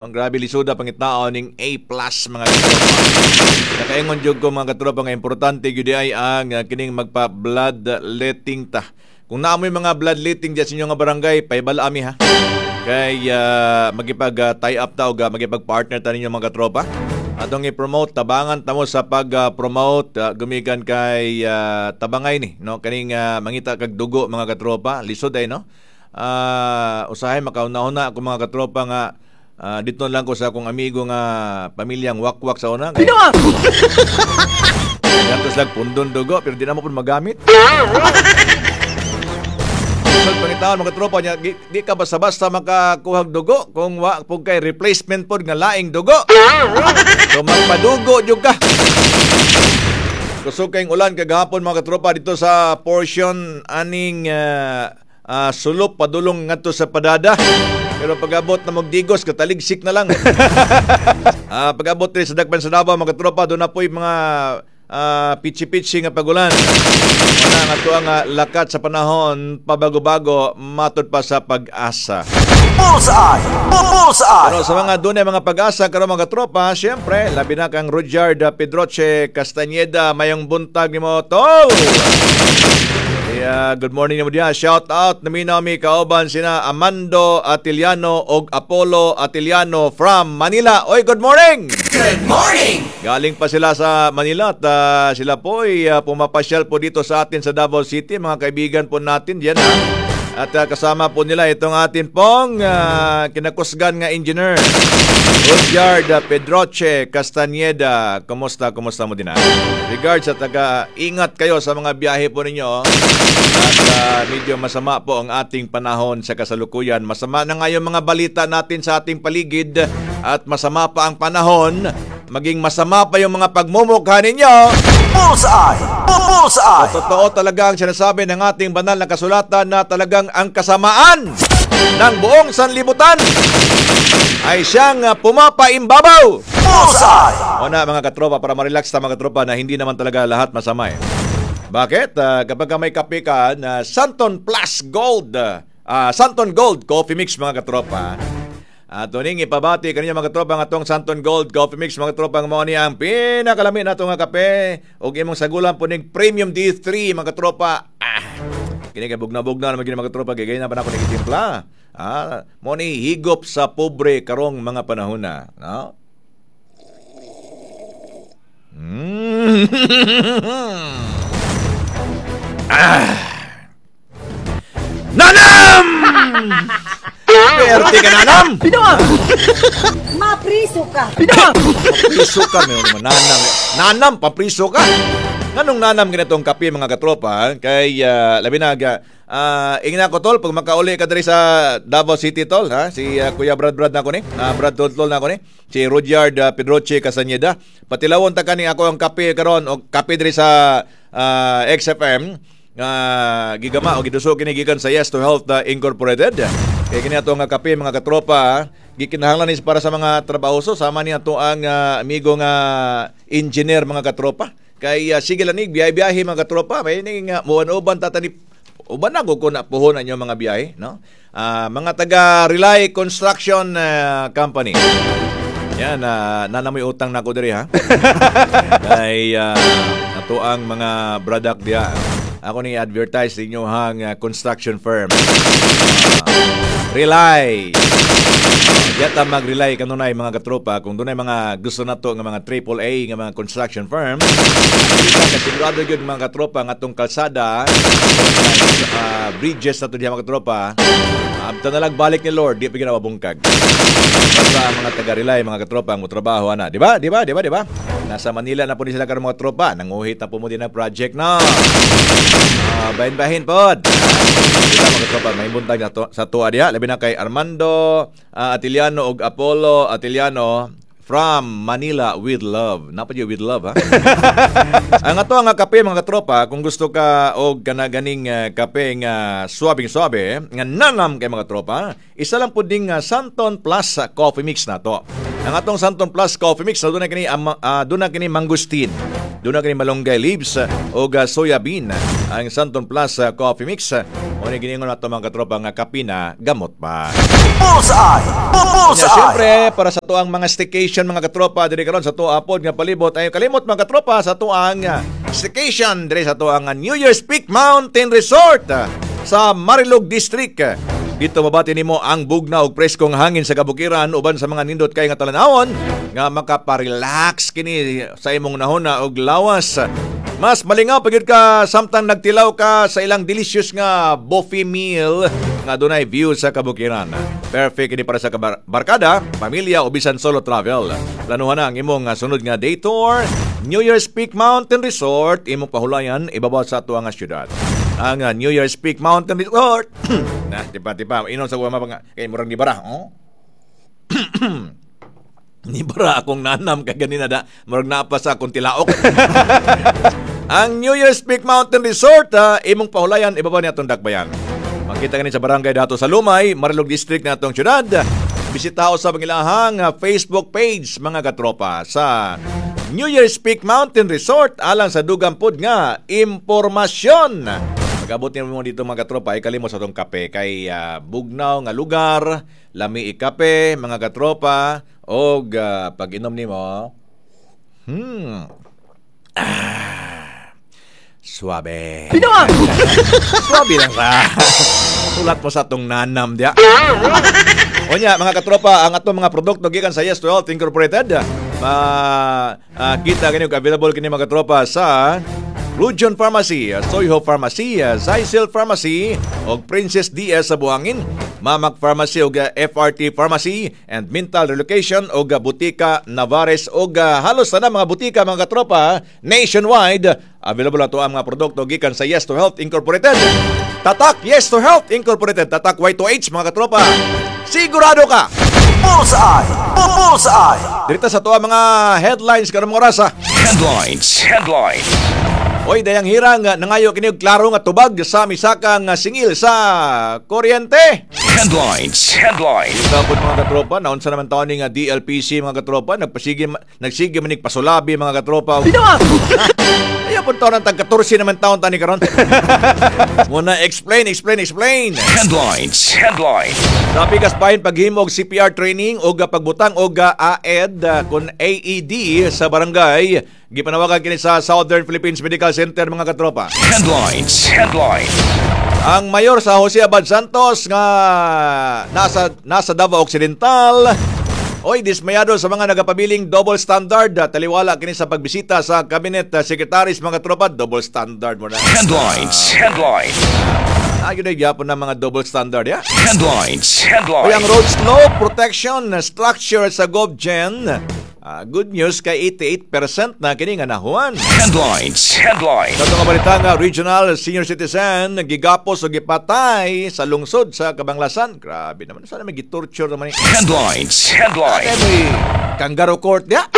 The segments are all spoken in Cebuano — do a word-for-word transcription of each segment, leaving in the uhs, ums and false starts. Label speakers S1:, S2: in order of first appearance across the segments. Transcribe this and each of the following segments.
S1: Ang grabe lisuda pangitaon ning A plus, mga katropa. Nakaingon jud ko, mga katropa, nga importante gyud ay ang uh, kining magpa blood letting ta. Kung naa moy mga bloodletting diyan sa inyong nga barangay, pahibalo ami ha. Kay uh, magipag uh, tie up ta og uh, magipag partner ta ninyo, mga katropa. Atong i-promote, tabangan ta mo sa pag-promote uh, gumikan kay uh, tabangay ni, no, kaning uh, mangita kag dugo, mga katropa, lisod ay, no. Uh, usahay makauna-una ako, mga katropa, nga uh, dito lang ko sa akong amigo nga pamilyang wakwak sa una. Kay Gantos lang pundon dugo pero di na mo pud magamit. Lisod pangitaon, mga tropa niya, di, di ka basta-basta makakuhag dugo kung wa pud kay replacement pod nga laing dugo. So magpadugo jud ka. Kusog kayong ulan kagahapon, mga katropa, dito sa portion aning uh, uh, sulop padulong ngadto sa Padada. Pero pag-abot na magdigos, kataligsik na lang. uh, pag-abot rin sa Dakpan sa Davao, mga katropa, doon na po yung mga uh, pitsi-pitsi nga pagulan. Wala nga to ang uh, lakat sa panahon, pabago-bago, matod pa sa Pag-asa.
S2: Bullseye! Bullseye!
S1: Pero sa mga dunay mga pag-asa karon, mga katropa, siyempre, labi na kang Rudyard Pedroche Castañeda, mayong buntag nimo, tol. Kaya good morning nimo diha. Shout out naminaw mi kauban sina Amando Atiliano og Apollo Atiliano from Manila. Oy, good morning.
S2: Good morning!
S1: Galing pa sila sa Manila at uh, sila po ay uh, pumapasyal po dito sa atin sa Davao City, mga kaibigan po natin diyan ha. At uh, kasama po nila itong atin pong uh, kinakusgan nga engineer, Rudyard Pedroche Castañeda. Kumusta, kumusta mo din ha? Regards sa taga, ingat kayo sa mga biyahe po ninyo. At uh, medyo masama po ang ating panahon sa kasalukuyan. Masama na nga yung mga balita natin sa ating paligid at masama pa ang panahon. Maging masama pa yung mga pagmumukha ninyo.
S2: Bullseye! Bullseye!
S1: Totoo talaga ang sinasabi ng ating banal na kasulatan na talagang ang kasamaan ng buong sanlibutan ay siyang uh, pumapaimbabaw.
S2: Bullseye!
S1: O na, mga katropa, para ma-relax ta, mga katropa, na hindi naman talaga lahat masama eh. Bakit? Uh, kapag ka may kape ka na Santon Plus Gold, uh, Santon Gold Coffee Mix, mga katropa. At tuning ipabati kaniya, mga katropa, nga atong Santon Gold Coffee Mix, mga katropa, mao ni ang pinakalami nato nga kape ug imong sagulan po ning Premium D three, mga katropa. Ah, kini kay bugna-bugna naman gini, mga katropa, kay ganyan pa na ako nagitimpla. Ah, mo ni higop sa pobre karong mga panahon na, no? Mm. Ah. Nanam! Perte ka, nanam!
S3: Mapriso ka.
S1: Papriso ka, may naman nanam. Nanam, papriso ka. Nganong nanam ganitong kape, mga katropa, kay uh, labi na uh, ingna ko, tol, pag makauli ka diri sa Davao City, tol, ha, si uh, Kuya Brad Brad na ko ni, uh, Brad Tol Tol na ko ni, si Rudyard uh, Pedroche Castañeda. Patilawon ta kani ako ang kape karon og kape diri sa uh, X F M nga gigama o giduso kini gikan sa Yes to Health uh, Incorporated. Kay kini ato nga kape, mga katropa, gikinahanglan ni para sa mga trabahoso sama ni ato ang uh, amigo nga engineer, mga katropa. Kay uh, sige lang biyahe-biyahe, mga katropa, may ning uh, muan-uban tata ni uban na ko na puhonan yung mga biyahe, no? Ah, mga taga Rely Construction uh, Company. Yan, uh, nanamoy utang na ko diri ha. Kay uh, ato ang mga product diya. Ako ni advertise inyo hang uh, construction firm. Uh, Rely. Uh, Diya ta mag-rely kanunay, mga katropa, kung dunay mga gusto nato nga mga triple A nga mga construction firm. Kita kasigurado gyud, mga katropa, nga atong kalsada, uh, bridges nato diha, mga katropa. Abta na lang balik ni Lord, di pa gina mabungkag. Basta ang mga taga-rely, mga katropa, ang trabaho ana, di ba? Di ba? Di ba? Di ba? Nasa Manila na po ni sila karon, mga tropa. Nanguhit na po mo din ang project no. Uh, bahin-bahin pod. Kita, mga katropa, may buntag na to, sa tuwa diha. Labi na kay Armando uh, Atiliano ug Apollo Atiliano from Manila with love. Napa with love ha. Ang ato nga kape, mga katropa, kung gusto ka og kanaganing uh, kape nga suwabing suwabe, nga nanam kay, mga tropa, isa lang pud ding uh, Santon Plus Coffee Mix na to. Ang atong Santon Plus Coffee Mix, doon na kini um, uh, doon na kini mangosteen. Duna kini malunggay leaves o soya bean. Ang Santon Plus uh, Coffee Mix. O ni giningon nato, mga katropa, nga kape na gamot pa.
S2: Bullseye!
S1: Nya,
S2: Bullseye!
S1: siyempre, para sa tuang mga staycation, mga katropa, diri karon sa tuwa pod nga palibot, ay kalimot, mga katropa, sa tuang uh, staycation diri sa tuang uh, New Year's Peak Mountain Resort uh, sa Marilog District. Dito mabati nimo ang bugnaw ug preskong hangin sa kabukiran uban sa mga nindot kay nga talan-awon nga makaparelax kini sa imong nahuna og lawas. Mas malingaw pag ka samtang nagtilaw ka sa ilang delicious nga buffet meal nga dunay view sa kabukiran. Perfect kini para sa kabar- barkada, pamilya o bisan solo travel. Planuhan na ang imong nga sunod nga day tour, New Year's Peak Mountain Resort, imong pahulayan ibabaw sa atuang nga syudad. Ang uh, New Year's Peak Mountain Resort. Na, tipa tipa, inon sa kuha nga kay murang di bara, oh? Ni bara akong nanam kay ganina da, murag naa pa sa akong tilaok. Ang New Year's Peak Mountain Resort, ah, imong pahulayan ibabaw ni atong dakbayan. Makita kani sa Barangay Dato sa Lumay, Marilog District na atong syudad. Bisita sa pangilahang ah, Facebook page, mga katropa, sa New Year's Peak Mountain Resort alang sa dugang pod nga impormasyon. Pag-abot niyo mo dito, mga katropa, ay kalimot sa atong kape kay ah, bugnaw nga lugar, lami ikape, mga katropa, og ah, pag inom nimo, hmm, ah, suabe. Suabe lang sa. Sulat mo sa atong nanam diya. Onya, mga katropa, ang atong mga produkto gikan sa Yes to Health Incorporated, ma ah, kita kini available kini, mga katropa, sa Lujon Pharmacy, Soyho Pharmacy, Zycel Pharmacy ug Princess D S sa Buhangin, Mamak Pharmacy ug F R T Pharmacy and Mental Relocation ug Butika Navares ug halos na mga butika, mga katropa, nationwide. Available ato ang mga produkto gikan sa Yes to Health Incorporated. Tatak Yes to Health Incorporated, Tatak Y two H, mga katropa. Sigurado ka.
S2: Bullseye! Bullseye!
S1: Dirita sa to ang mga headlines karong mga orasa.
S3: Headlines. Headline.
S1: Oy, dayang hirang nangayo kini og klaro nga tubag sa misaka nga singil sa kuryente.
S3: Headlines. Headline.
S1: Ito po, mga katropa, naunsa naman taon ni nga D L P C, mga katropa, nagpasige nagsige manig pasulabi, mga katropa. Ayaw po taon ang tag katorse naman taon tani karon. Muna explain, explain, explain.
S3: Headlines. Headline.
S1: Sa pikas bahin paghimo og C P R training og pagbutang og A E D kon A E D sa barangay, gipanawagan kini sa Southern Philippines Medical Center, mga katropa.
S3: Headlines. Headline.
S1: Ang mayor sa Jose Abad Santos nga nasa nasa Davao Occidental, oy, dismayado sa mga nagapabiling double standard. Taliwala kini sa pagbisita sa cabinet secretaries, mga tropa, double standard mo na.
S3: Headlines. Headline.
S1: Ayun na gyapon ng mga double standard ya.
S3: Headlines.
S1: Oy, ang
S3: Headline.
S1: road slope protection structure sa GovGen, ah, good news kay eighty-eight percent na kini nga nahuman.
S3: Headlines. Headline.
S1: Sa itong balita nga regional senior citizen gigapos o gipatay sa lungsod sa Kabanglasan. Grabe naman. Sana may gitorture naman ni.
S3: Headlines. Headline.
S1: Kaya may kangaroo court niya.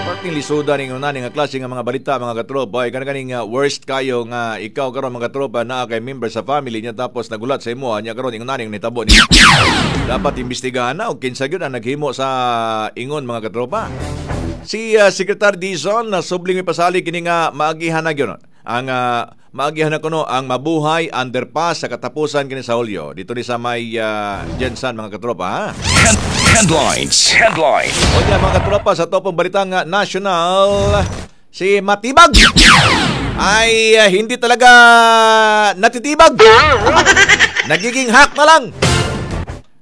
S1: Parting lisuda ning una nga klase nga mga balita, mga katropa, ay kana kaning uh, worst kayo nga ikaw karon, mga katropa, naa kay member sa family niya tapos nagulat sa imo niya karon ingon ning nitabo ni. Dapat imbestigahan na og kinsa gyud ang naghimo sa ingon, mga katropa. Si uh, Secretary Dizon na subling may pasali kini nga maagihan na gyud ang uh, maagihan na kuno ang Mabuhay Underpass sa katapusan kini sa Hulyo. Dito ni sa may uh, GenSan, mga katropa, ha.
S3: Head- Headlines. Headline.
S1: O mga katropa, sa topong balitang uh, national, si Matibag ay uh, hindi talaga natitibag. Nagiging hack na lang.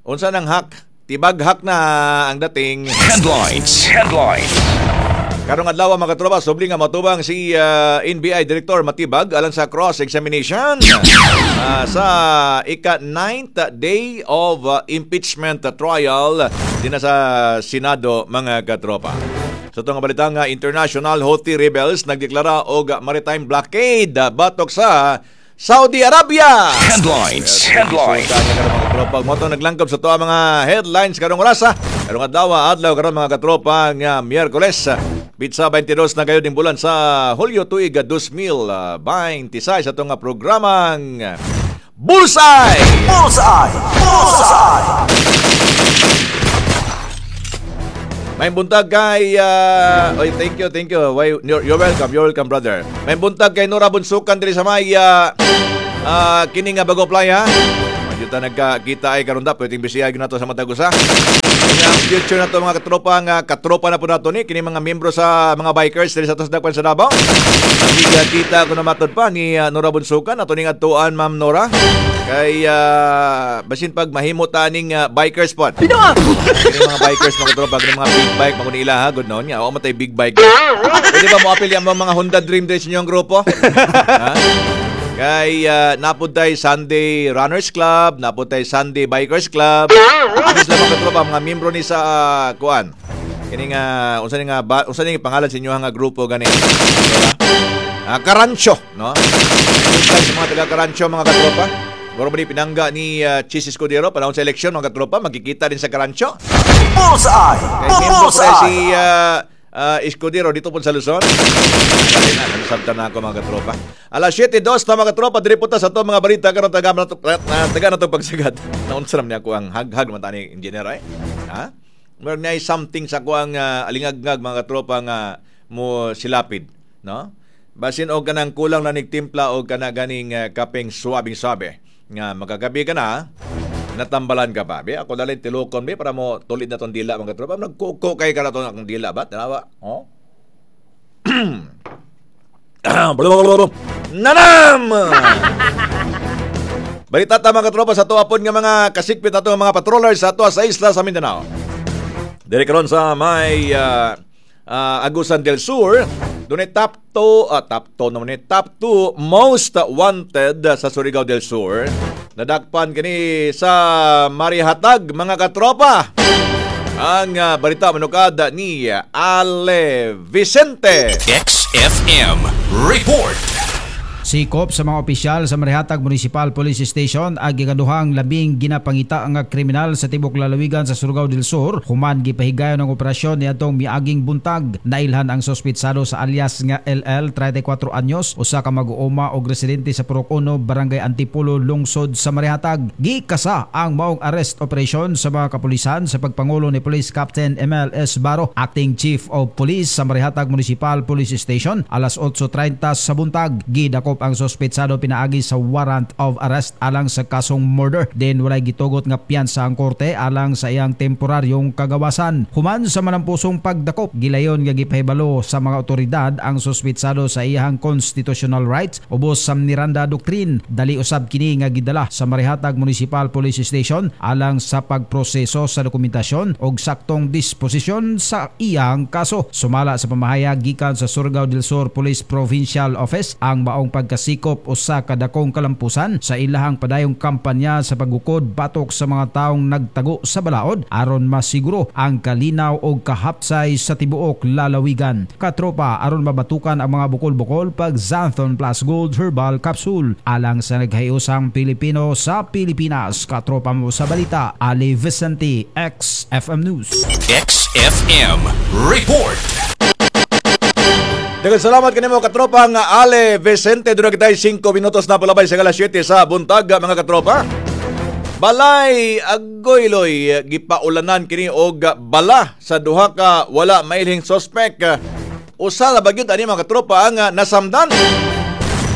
S1: Unsa nang hack? Tibag hack na ang dating.
S3: Headlines. Headline.
S1: Karong adlaw, mga katropa, subli nga matubang si uh, N B I Director Matibag alang sa cross-examination uh, sa ika-ninth day of uh, impeachment trial din na sa Senado, mga katropa. Sa itong balita nga international, Houthi rebels nagdeklara og maritime blockade batok sa Saudi Arabia.
S3: Headlines. Headline.
S1: Isuta niya karon, mga katropa. Mo naglangkob sa to ang mga headlines karong orasa. Karong adlaw, adlaw karon, mga katropa, nga Miyerkules. Pitsa twenty-two na kayo ding bulan sa Hulyo tuig twenty twenty-six sa itong programang Bullseye!
S2: Bullseye! Bullseye!
S1: May buntag kay uh, oy, thank you, thank you. Why, you're, you're welcome, you're welcome, brother. May buntag kay Nora Bunsukan diri sa may uh, uh, kini nga Bago Playa. Medyo ta nagkakita ay karon da pwedeng bisiyag nato sa matag usa. Ang future na to, mga katropa, nga katropa na po nato ni kini mga miyembro sa mga bikers diri sa tos Dakpan sa Davao. Kita ko na matod pa ni uh, Nora Bunsukan ato ning adtuan, Ma'am Nora. Kay uh, basin pag mahimo ta ning uh, bikers pod. Kini mga bikers, mga katropa, kini mga big bike mga nila ha, good noon nga. Wa man tay big bike. Pwede ba mo apil ang mga Honda Dream diri sa inyong grupo? Ha? Kay uh, napud tay Sunday Runners Club, napud tay Sunday Bikers Club. Ini sila, mga katropa, mga miyembro ni sa uh, kuan. Kini nga unsa ni nga ba, unsa ni pangalan sa inyo nga grupo gani? Diba? Ah, Karancho, no? Buntag sa mga taga Karancho, mga katropa. Muro ba ni pinangga ni uh, Chiz Escudero panahon sa eleksyon, mga katropa, magkikita din sa Karancho.
S2: Bullseye!
S1: Kay miyembro pa
S2: Bullseye!
S1: si uh, uh, Escudero dito po sa Luzon. Dali na, nasabtan na ako, mga katropa. Alas siyete dos na, mga katropa, diri po ta sa to mga balita karon taga na to, na, taga na to pagsagad. Naunsa naman niya ako ang haghag naman tani engineer ay. Ha? Meron na something sa ko ang uh, alingagngag, mga katropa, nga mo silapid, no? Basin og kanang kulang na nigtimpla og kana ganing uh, kapeng suwabing sabi nga makagabi ka na, natambalan ka pa. Be, ako dalhin tilukon be para mo tulid na tong dila, mga katropa. Nagkuko kay ka na tong akong dila ba? Tanawa. Oh. Nanam! Balita ta, mga katropa, sa tuwa pod nga mga kasikpit ato nga mga patrollers sa ato sa isla sa Mindanao. Diri karon sa may uh, uh, Agusan del Sur, dunay top two, uh, top two naman ni, top two most wanted sa Surigao del Sur. Nadakpan kini sa Marihatag, mga katropa. Ang uh, balita manukada ni Ale Vicente.
S3: X F M Report.
S4: Sikop sa mga opisyal sa Marihatag Municipal Police Station ang gikaduhang labing ginapangita nga kriminal sa tibok lalawigan sa Surigao del Sur human gipahigayon ang operasyon niadtong miaging buntag. Nailhan ang suspitsado sa alias nga L L, trenta'y kwatro anyos, usa ka mag-uuma og residente sa Purok uno, Barangay Antipolo, lungsod sa Marihatag. Gikasa ang maong arrest operation sa mga kapulisan sa pagpangulo ni Police Captain M L S. Baro, Acting Chief of Police sa Marihatag Municipal Police Station, alas otso trenta sa buntag. Gidakop ang suspetsado pinaagi sa warrant of arrest alang sa kasong murder. Din walay gitugot nga piyansa ang korte alang sa iyang temporaryong kagawasan. Human sa manampusong pagdakop, gilayon nga gipahibalo sa mga otoridad ang suspetsado sa iyang constitutional rights ubos sa Miranda Doctrine. Dali usab kini nga gidala sa Marihatag Municipal Police Station alang sa pagproseso sa dokumentasyon og saktong disposisyon sa iyang kaso. Sumala sa pamahayag gikan sa Surigao del Sur Police Provincial Office, ang maong pagkasikop usa ka dakong kalampusan sa ilahang padayong kampanya sa paggukod batok sa mga taong nagtago sa balaod aron masiguro ang kalinaw og kahapsay sa tibuok lalawigan. Katropa, aron mabatukan ang mga bukol-bukol, pag Xanthone Plus Gold Herbal Capsule alang sa naghiusang Pilipino sa Pilipinas. Katropa mo sa balita, Ali Vicente, X F M News.
S3: X F M Report.
S1: Daghang salamat kanimo, katropa nga Ale Vicente. Doon kita singko minutos na palabay sa alas siyete sa buntag, mga katropa. Balay Agoyloy gipaulanan kini og bala sa duha ka wala mailhing suspect. Usa na bagyod ani, mga katropa, ang nasamdan.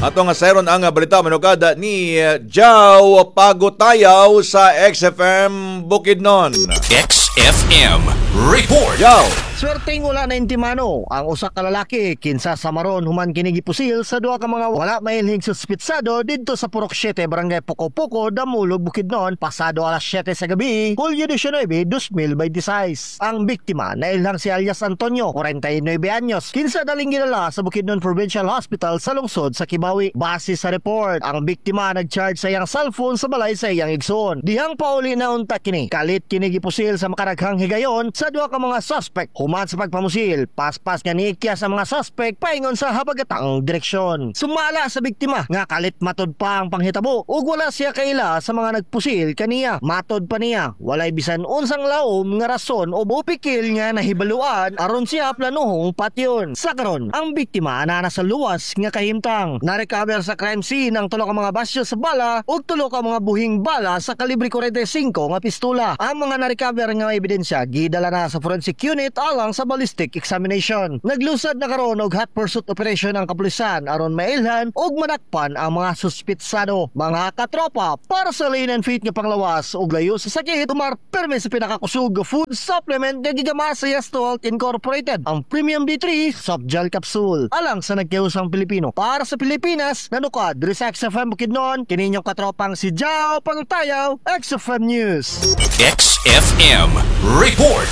S1: Ato nga sayron ang balita manukada ni Jao Pagotayaw sa X F M Bukidnon.
S3: X F M Report.
S1: Jao.
S5: Swerteng wala na intimano ang usa ka lalaki kinsa sa maron human kini gipusil sa duha ka mga wala mailhing suspitsado didto sa Purok siyete, Barangay Pokopoko, Damulog, Bukidnon pasado alas siyete sa gabi, Hulyo disnaybe, dalawang libo bente sais. Ang biktima nailhang si alias Antonio, kwarenta y nuebe anyos, kinsa daling gidala sa Bukidnon Provincial Hospital sa lungsod sa Kibawi. Base sa report, ang biktima nag-charge sa iyang cellphone sa balay sa iyang igsoon. Dihang pauli na unta kini, kalit kini gipusil sa makaraghang higayon sa duha ka mga suspect. Human sa pagpamusil, paspas nga niikya sa mga suspect paingon sa habagatang direksyon. Sumala sa biktima nga kalit matod pa ang panghitabo ug wala siya kaila sa mga nagpusil kaniya. Matod pa niya, walay bisan unsang laom nga rason o bupikil nga nahibaluan aron siya planuhong patyon. Sa karon, ang biktima ana sa luwas nga kahimtang. Na-recover sa crime scene ang tulo ka mga basyo sa bala ug tulo ka mga buhing bala sa kalibre kwarenta y singko nga pistola. Ang mga na-recover nga ebidensya gidala na sa forensic unit alang alang sa ballistic examination. Naglusad na karon og hot pursuit operation ang kapulisan aron mailhan ug manakpan ang mga suspitsado. Mga katropa, para sa Lean and Fit nga panglawas ug layo sa sakit, tumar perme sa pinakakusog nga food supplement nga gigama sa Yes to Health Incorporated, ang Premium D three Soft Gel Capsule. Alang sa nagkiusang Pilipino. Para sa Pilipinas, nanukad, diri sa X F M Bukidnon, kininyong katropang si Jao Pangutayaw, X F M News.
S3: X F M Report.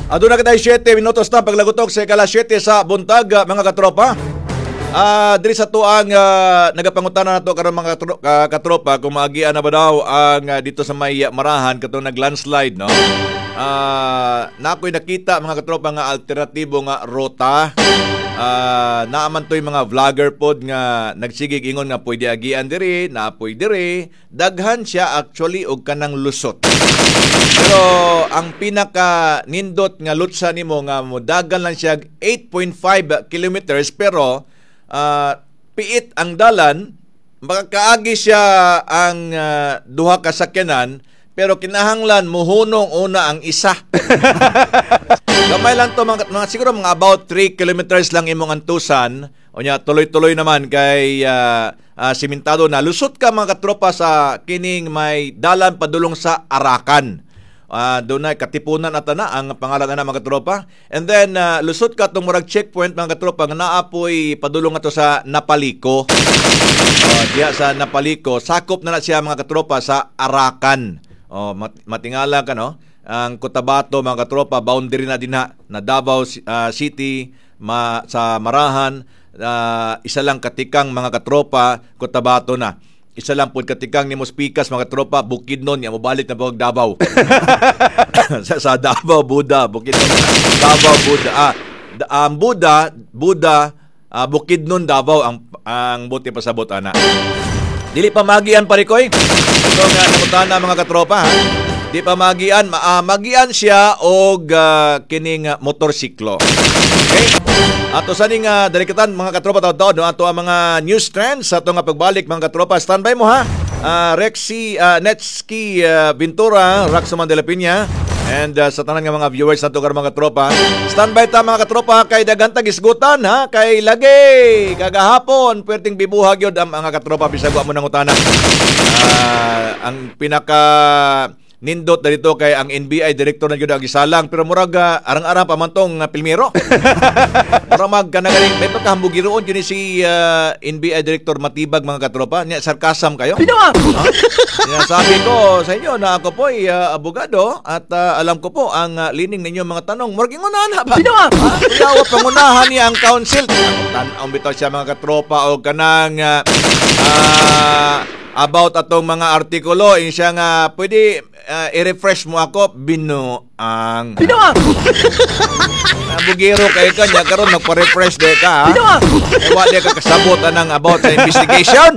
S1: Aduna kitay siyete minutos na paglagutok sa ikalas siyete sa buntag, ah, mga katropa. Ah, diri sa tuang uh, nagapangutana nato karon, mga katro- ka- katropa, kung maagian na ba daw ang ah, dito sa may Marahan katong nag-landslide, no. Ah, na ako'y nakita, mga katropa, nga alternatibo nga ruta. Ah, naaman to'y mga vlogger pod nga nagsigig ingon nga pwede agian diri, naapoy diri. Daghan siya actually og kanang lusot. Pero ang pinaka nindot nga lutsa nimo nga modagan lang siya eight point five kilometers, pero ah, piit ang dalan, makakaagi siya ang ah, duha ka sakyanan, pero kinahanglan muhunong una ang isa. Gamay lang to, mga, mga siguro mga about three kilometers lang imong antusan. Unya tuloy-tuloy naman kay ah, ah, simentado na. Lusot ka, mga katropa, sa kining may dalan padulong sa Arakan. Ah, doon na Katipunan ata na ang pangalan na, mga katropa. And then ah, lusot ka tong murag checkpoint, mga katropa, nga naapoy padulong ato sa Napaliko. Oh, diya sa Napaliko, sakop na na siya, mga katropa, sa Arakan. Oh, mat- matingala ka, no? Ang Cotabato, mga katropa, boundary na dinha na Davao ah, City ma, sa Marahan, ah, isa lang katikang, mga katropa, Cotabato na. Isa lang pud katikang nimo pikas, mga katropa, Bukidnon, ya mobalik na pag Davao. sa, sa Davao Buda, Bukidnon, Davao Buda. Ah, da- ang Buda, Buda, ah, Bukidnon, Davao ang ang buti pasabot ana. Dili pa magian, parikoy. Ito nga nangutana, mga katropa, ha. Di pa magian, ma ah, magian siya og ah, kining ah, motorsiklo. Okay? Ato sa ning uh, dalikatan, mga katropa, taud-taud no, ato ang mga news trends sa ato nga pagbalik, mga katropa. Standby mo ha. Uh, Rexy uh, Netsky uh, Ventura, Raxoman de la Piña and uh, sa tanan nga mga viewers nato karon, mga katropa. Standby ta, mga katropa, kay daghan tag isgutan ha, kay lagi kagahapon perting bibuhag yun ang mga katropa bisag wa mo nangutana. Ah, ang pinaka nindot na dito kay ang N B I director na gyud ang gisalang, pero murag ah, arang-arang pa man tong uh, pilmero. Murag mag kanagaling may pagkahambugiroon yun ni si ah, N B I director Matibag, mga katropa. Nya sarcasm kayo. Ha? Sinasabi ko sa inyo na ako po ay ah, abogado at ah, alam ko po ang ah, lining ninyo mga tanong. Murag ingon na ba? Ha? Kuyawa pangunahan niya ang council. Tan-aw bitaw siya, mga katropa, o kanang ah, ah, about atong mga artikulo, in siya nga pwede ah, i-refresh mo ako, binuang. Binuang. Bugiro kay ka niya karon magpa-refresh de ka, ha? Eh, wa di ka kasabot anang about sa investigation.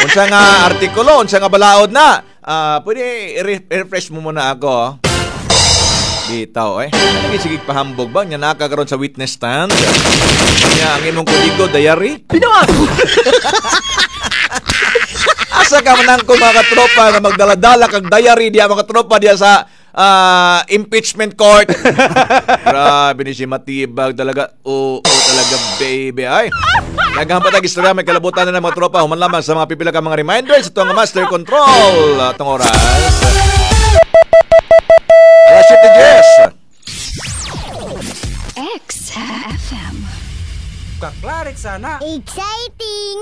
S1: Unsa nga artikulo, unsa nga balaod na? Ah, pwede i- i-refresh mo muna ako. Bitaw eh. Lagi sige pahambog ba nya naka karon sa witness stand. Nya ang imong kodigo diary. Binuang. Asa ka man ko, mga katropa, nga magdala-dala kag diary diya, mga katropa, diya sa ah, impeachment court? Grabe ni si Matibag talaga. Oo, talaga, baby. Ay. Daghan pa tag istorya, may kalabutan na ng mga tropa human lamang sa mga pipila ka mga reminders. Ito ang Master Control. Atong oras. Alas siyete diyes.
S6: X F M.
S7: Exciting!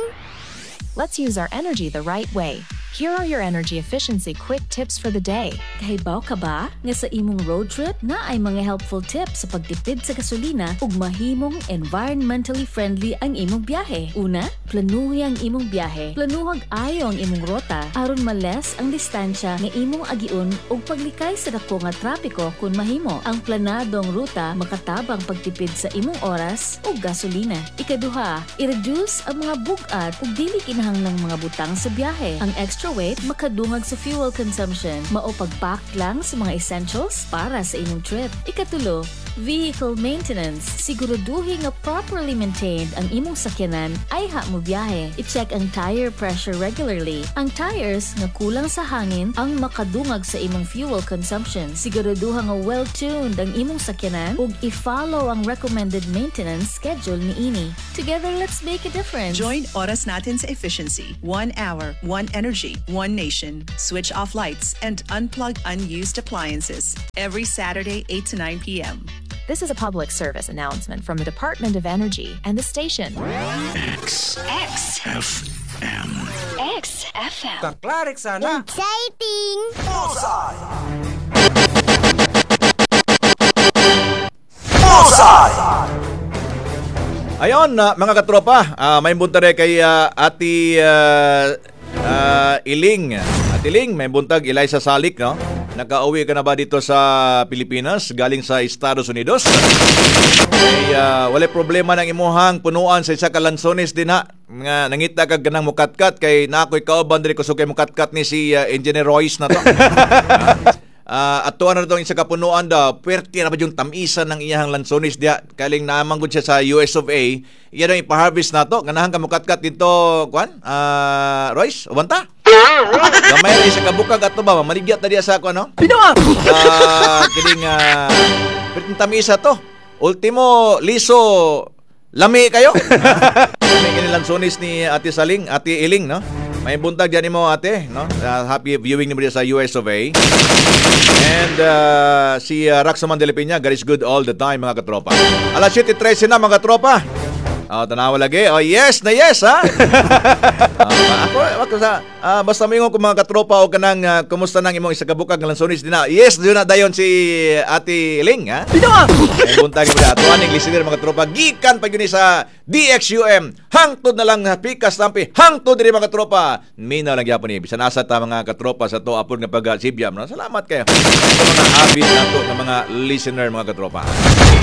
S6: Let's use our energy the right way. Here are your energy efficiency quick tips for the day.
S8: Kahibaw ka ba nga sa imong road trip na ay mga helpful tips sa pagtipid sa gasolina ug mahimong environmentally friendly ang imong biyahe? Una, planuhi ang imong biyahe. Planuhag ayo ang imong rota aron ma-less ang distansya nga imong agiun ug paglikay sa dako nga trapiko kun mahimo. Ang planadong ruta makatabang pagtipid sa imong oras ug gasolina. Ikaduha, i-reduce ang mga bug-at ug dili kinahanglang mga butang sa biyahe. Ang extra weight makadungag sa fuel consumption. Mao pagpack lang sa mga essentials para sa imong trip. Ikatulo, Vehicle maintenance. Siguraduhin nga properly maintained ang imong sakyanan ayha mo biyahe. I-check ang tire pressure regularly. Ang tires nga kulang sa hangin ang makadungag sa imong fuel consumption. Siguraduha nga well-tuned ang imong sakyanan ug i-follow ang recommended maintenance schedule niini. Together, let's make a difference.
S7: Join Oras Natin sa Efficiency. One hour, one energy, one nation. Switch off lights and unplug unused appliances. Every Saturday, eight to nine p m.
S6: This is a public service announcement from the Department of Energy and the station.
S3: X.
S9: X.
S3: F. M.
S9: X F M.
S2: Kaklarik sana.
S9: Exciting!
S2: Bullseye! Bullseye!
S1: Ayon, ah, mga katropa, uh, may buntag kay ah, Ate ah, ah, Iling. Ate Iling, may buntag Eliza Salik, no? Nakauwi ka na ba dito sa Pilipinas galing sa Estados Unidos? Kay uh, walay problema ng imuhang punuan sa isa ka lansones din ha. Nga nangita kag ganang mukatkat kay na ako'y kauban diri kusog kay mukatkat ni si ah, Engineer Royce na to. Ah, uh, atuan na itong isa ka punuan daw, puwerte na ba yung tamisan ng iyahang lansones diya. Kaling namanggod siya sa U S of A. Iya daw ipa-harvest na to. Ganahan ka mukatkat dito, kuan? Ah, Royce, ubanta? Gamay ra isa ka bukag ato ba? Maligyat na diya sa ako, ano? Pinoa! Ah, kining uh, puwerteng tamisa to. Ultimo, liso, lami kayo. Lami kini lansones ni Ate Saling, Ate Iling, no? May buntag dyan mo, ate, no? Uh, happy viewing ni mo diya sa U S of A. And uh, si uh, Raxoman de la Peña, God is good all the time, mga katropa. Alas siyete trese na, mga katropa. Oh, tanawa lagi. Oh, yes na yes, ha? Ah, ako, ako sa, ah, basta moingon ko, mga katropa, o kanang uh, kumusta nang imong isa ka bukag nga lansones din na. Yes, yun na dayon si Ate Ling, ha? Pinoa! Ay, buntag mo na. Ato aning listener, mga katropa, gikan pa yun sa D X U M. Hangtod na lang pikas tampi. Hangtod diri, mga katropa. Minaw lang gyapon ni. Bisan asa ta, mga katropa, sa to apod nga pag-sibyam. No? Salamat kayo. Ito mga avid nato nga mga listener, mga katropa.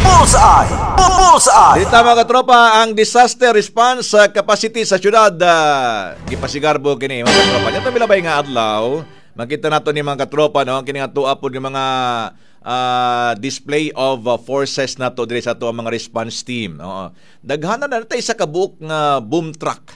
S2: Bullseye! Bullseye!
S1: Dito, mga katropa, ang disaster response sa capacity sa syudad uh, gipasigarbo kini, mga katropa. Dito milabay nga adlaw, makita nato ni mga katropa, no, kini nga tuwa pod nga mga ah, display of uh, forces nato diri sa ato ang mga response team. Oo. Daghanan na natay isa ka buok nga boom truck.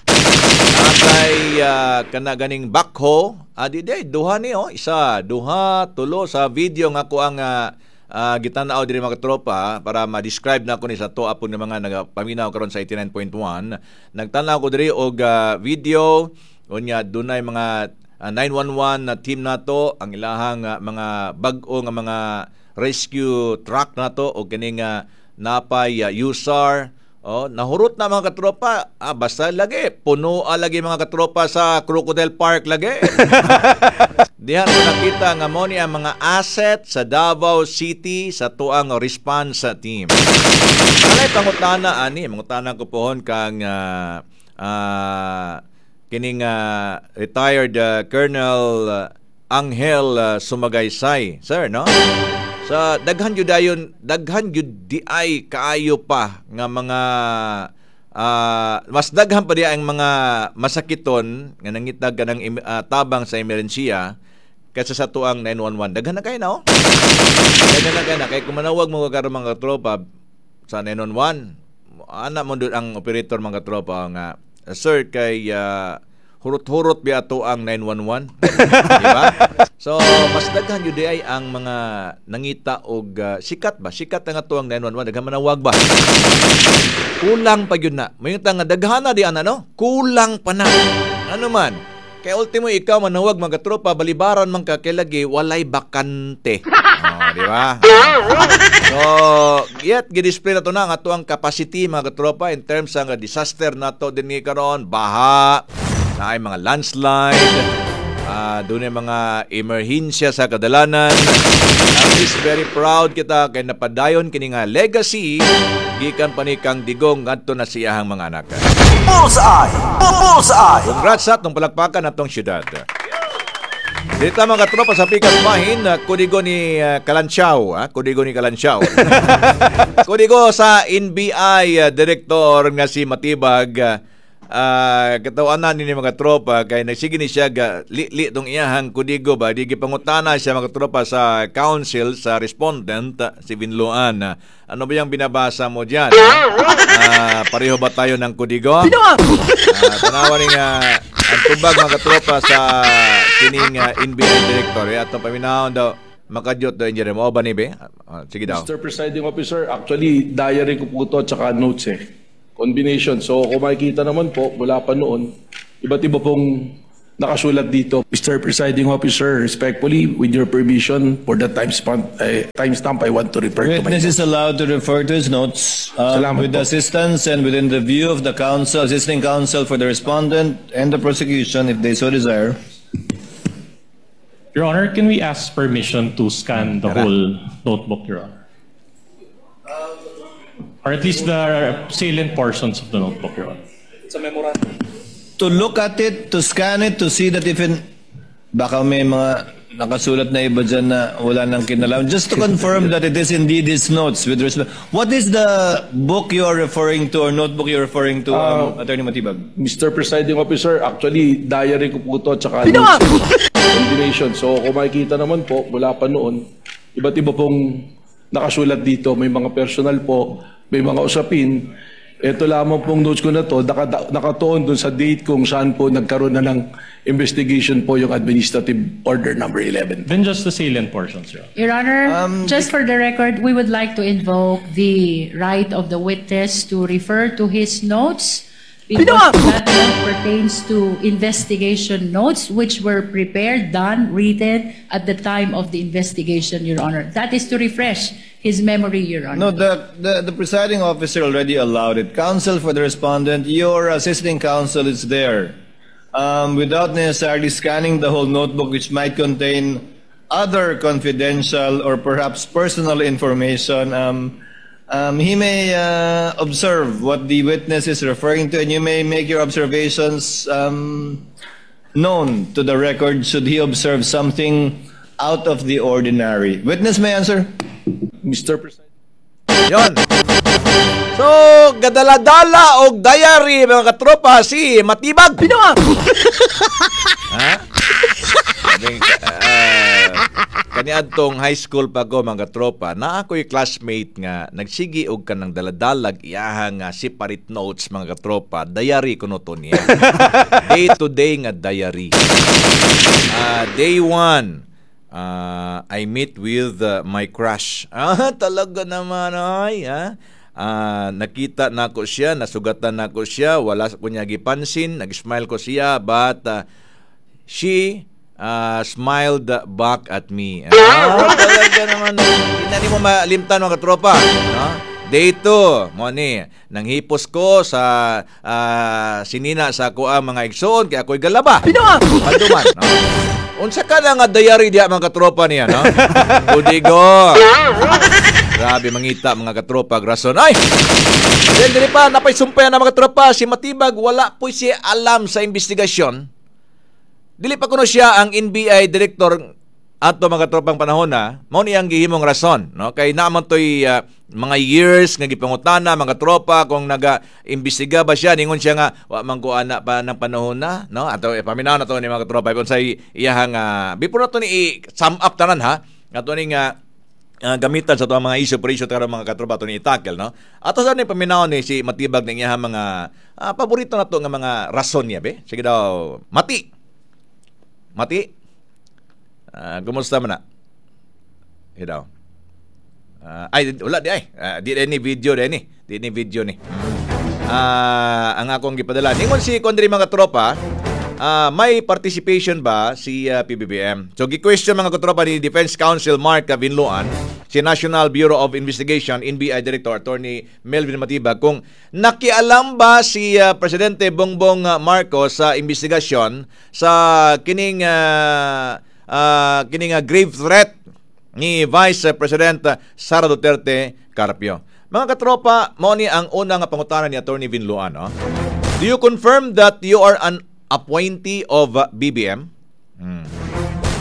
S1: Natay uh, kana ganing backhoe, adi di duha ni oh, isa, duha, tulo sa video nga ko ang uh, uh, gitan-aw diri, mga katropa, para ma-describe na ko ni sa to apon ng mga nagapaminaw karon sa eighty-nine point one. Nagtan-aw ko diri og uh, video unya dunay mga uh, nine one one na team nato, ang ilahang uh, mga bag-o nga mga rescue truck nato o kining uh, napay uh, U S A R. Oh, nahurot na, mga katropa. Ah, basta lagi puno ah, lagi, mga katropa, sa Crocodile Park lagi. Diha na nakita nga mo ni ang mga asset sa Davao City sa tuang response team. Alay pangutana ani, mangutana ko pohon kang uh, uh, kining uh, retired uh, Colonel uh, Angel uh, Sumagaysay, sir, no? Sa daghan gyud dayon, daghan gyud di ay kaayo pa nga mga uh, mas daghan pa di ang mga masakiton nga nangitag kanang uh, tabang sa emerhensiya kaysa sa tuang nine one one. Daghan na kayo na, oh. Daghan na kayo na. Kay kung manawag mo karon, mga tropa, sa nine one one, ana mo doon ang operator, mga tropa, nga, "Sir, kay uh, hurot-hurot biya to ang nine one one" Di ba? So, mas daghan yun di ay ang mga nangita og uh, sikat ba? Sikat na nga to ang nine one one. Daghan manawag ba? Kulang pa yun na. May nga daghan na di ana, no? Kulang pa na. Ano man? Kaya ultimo ikaw manawag, mga tropa, balibaran man ka kay lagi walay bakante. Oh, di ba? So, yet gi-display na to na ang ato ang capacity, mga katropa, in terms sa nga disaster nato din ni karon, baha, na ay mga landslide, uh, doon ay mga emerhensya sa kadalanan. At least very proud kita kay napadayon kini nga legacy gikan pa ni kang Digong ngadto na siyahang mga anak.
S2: Bullseye! Bullseye!
S1: Congrats sa atong palakpakan atong syudad. Dito, mga katropa, sa pikas bahin, uh, kodigo ni uh, Kalantiaw, ah, kodigo ni Kalantiaw. Kodigo sa N B I uh, Director nga si Matibag, uh, Ah, katawanan ni mga tropa kay nagsige ni siya ga li-li tong iyahang kodigo ba di gipangutana siya mga tropa sa counsel sa respondent ah, si Vinluan. Ano ba yung binabasa mo diyan? Ah, pareho ba tayo ng kodigo? Ah, tanawa ni nga ang tubag mga katropa sa kining uh, N B I director eh, atong paminahon daw makadyot daw, engineer mo ba ni be? Ah, sige daw.
S10: Mister Presiding Officer, actually, diary ko po ito at saka notes eh. Combination. So, kung makikita naman po, mula pa noon, iba't iba pong nakasulat dito. Mister Presiding Officer, respectfully, with your permission, for the time span, eh, timestamp, I want to refer to my
S11: Witness is allowed to refer to his notes uh,
S10: Salamat
S11: with
S10: po.
S11: the assistance and within the view of the counsel, assisting counsel for the respondent and the prosecution, if they so desire.
S12: Your Honor, can we ask permission to scan the
S1: Tara.
S12: Whole notebook, Your Honor? Or at least the salient portions of the notebook, Your Honor.
S11: To look at it, to scan it, to see that if in, baka may mga nakasulat na iba dyan na wala nang kinalaman. Just to confirm that it is indeed his notes with respect. What is the book you are referring to or notebook you're referring to, um, Attorney Matibag?
S10: Mister Presiding Officer, actually, diary ko po ito at saka notes. Combination. So, kung makikita naman po, mula pa noon, iba't iba pong nakasulat dito. May mga personal po, may mga usapin. Ito lamang pong notes ko na to, naka, nakatuon dun sa date kung saan po nagkaroon na ng investigation po yung Administrative Order Number eleven.
S12: Then just the salient portions, Your Honor.
S13: Your Honor,
S11: Um,
S13: just for the record, we would like to invoke the right of the witness to refer to his notes because that note pertains to investigation notes which were prepared, done, written at the time of the investigation, Your Honor. That is to refresh his memory, Your Honor.
S11: No, the, the, the presiding officer already allowed it. Counsel for the respondent, your assisting counsel is there. Um, without necessarily scanning the whole notebook, which might contain other confidential or perhaps personal information, um, um, he may uh, observe what the witness is referring to, and you may make your observations um, known to the record should he observe something out of the ordinary. Witness may answer.
S10: Mister President.
S1: Yon. So, gadala-dala og diary mga katropa si Matibag. Ha? Sabi, uh, kaniadtong high school pa ko mga katropa, na ako'y classmate nga nagsigi og kanang daladalag iyahang nga separate notes mga katropa, diary kuno to niya. Day to day nga diary. Ah, day one, uh, I meet with uh, my crush. Ah, talaga naman ay, ha? Ah, nakita nako siya, nasugatan nako siya, wala ko niya gipansin, nag-smile ko siya, but uh, she uh, smiled back at me. Ah, talaga naman. Hindi na mo malimtan mga katropa. No? Day two, mo ni, nanghipos ko sa ah, sinina sa ako ang mga igsoon kay ako'y galaba. Panduman. No? Unsa ka na nga diary diya mga katropa niya, no? Kudigo. Grabe mangita mga katropa, rason. Ay! Then diri pa napay sumpay na mga katropa si Matibag, wala po siya alam sa investigasyon. Dili pa kuno siya ang N B I director ato mga tropang panahon na, mao ni ang gihimong rason, no? Kay naaman toy ah, mga years nga gipangutana mga tropa kung naga-imbestiga ba siya, ningon siya nga wa man ko ana pa ng panahon na, no? Ato eh, paminaw na to ni mga tropa kung say iyahang uh, before na to ni i-sum up tanan ha. Ato ni nga uh, gamitan sa tuang mga issue per issue karon mga katropa to ni i-tackle, no? Ato sa ni paminaw ni si Matibag ng iyahang mga ah, paborito na to nga mga rason niya be. Sige daw, Mati. Mati. Ah, kumusta man na? Sige daw. Ah, ay, wala di ay. Ah, di ni video di ni. Di ni video ni. Ah, ang akong gipadala. Ningon si Kondri mga tropa, ah, may participation ba si ah, P B B M? So gi-question mga katropa ni Defense Counsel Mark Vinluan, si National Bureau of Investigation N B I Director Attorney Melvin Matibag kung nakialam ba si ah, Presidente Bongbong Marcos sa investigasyon sa kining ah, ah, kining ah, grave threat ni Vice President Sara Duterte Carpio. Mga katropa, mao ni ang una nga pangutana ni Attorney Vinluan, no? Do you confirm that you are an appointee of uh, B B M? Hmm.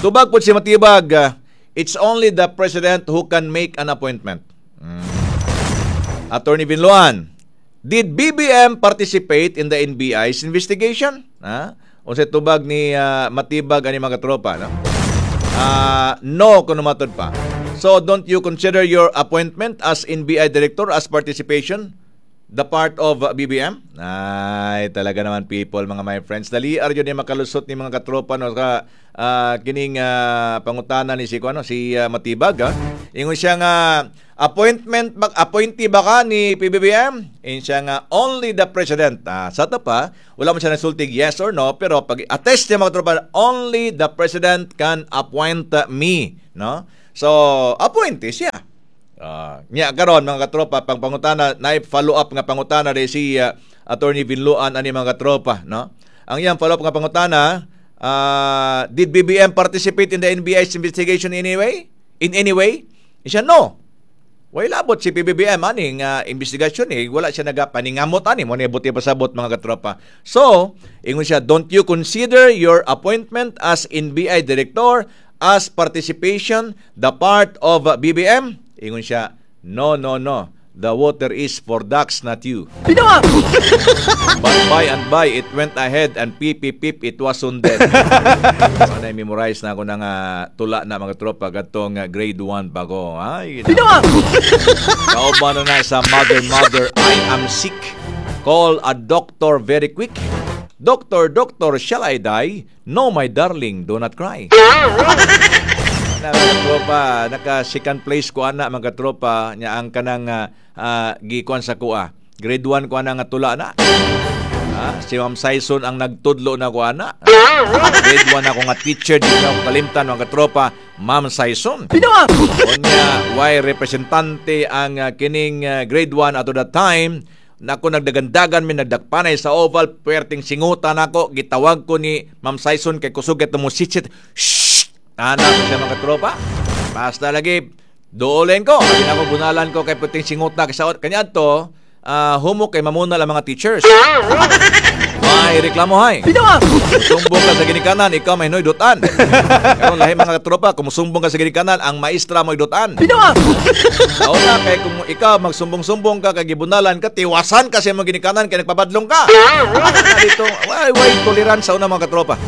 S1: Tubag po si Matibag, uh, it's only the president who can make an appointment. Hmm. Attorney Vinluan, Did B B M participate in the N B I's investigation? Ha? Unsay tubag ni uh, Matibag ani, mga tropa, no? Ah, no kuno matod pa. So don't you consider your appointment as N B I director as participation the part of uh, B B M? Ay, talaga naman, people, mga my friends. Dali ar yun yung makalusot ni mga katropa, no, ka ah, kining ah, pangutana ni si ano si ah, Matibag, ha. Ingon siya nga, appointment ba, appointee ba ka ni P B B M? Ingon siya nga, only the president. Ah, sa to pa, wala mo siya nasultig yes or no, pero pag attest niya, mga tropa, only the president can appoint me, no? So, appointee siya. Ah, nya karon, mga katropa, pang pangutana na follow up nga pangutana rin si uh, Attorney Vinluan ani, mga katropa, no? Ang iyang follow up nga pangutana, ah, did B B M participate in the N B I's investigation anyway? In any way? Siya, no. Way labot si P B B M ani nga investigasyon eh, wala siya nagapaningamot ani mo ni buti pasabot, mga katropa. So, ingon siya, don't you consider your appointment as N B I director as participation the part of uh, B B M? Ingon siya, no, no, no. The water is for ducks, not you. But by and by, it went ahead and pip, pip, pip, it was soon dead. So, na memorize na ako ng uh, tula na, mga tropa, katong uh, grade one pa ko. Ay, kauban na na sa "Mother, mother, I am sick. Call a doctor very quick. Doctor, doctor, shall I die? No, my darling, do not cry." Na mga tropa, naka second place ko ana, mga tropa, nya ang kanang uh, uh, gikuan sa kuha. Grade one ko ana nga tula na. Ah, si Ma'am Saison ang nagtudlo na ko ana. Grade one ako nga teacher, di na ako kalimtan, mga tropa, Ma'am Saison. Unya, way representante ang uh, kining uh, grade one ato that time. Nako, nagdagandagan mi, nagdakpanay sa oval, puwerteng singutan nako, gitawag ko ni Ma'am Saison kay kusog kay tumusitsit. Shh! Ana ko siya, mga tropa. Basta lagi duolen ko. Abi na ko bunalan ko kay puting singot na kasi kanya to uh, humok kay mamunal ang mga teachers. May reklamo hay. Sumbong ka sa ginikanan, ikaw may noy dutan. Karon lahi, mga tropa, kung musumbong ka sa ginikanan, ang maestra mo'y dutan. Sao na kay kung ikaw magsumbong-sumbong ka kay gibunalan ka, tiwasan ka sa imong ginikanan kay nagpabadlong ka. Dito, way way tolerance sa una, mga katropa.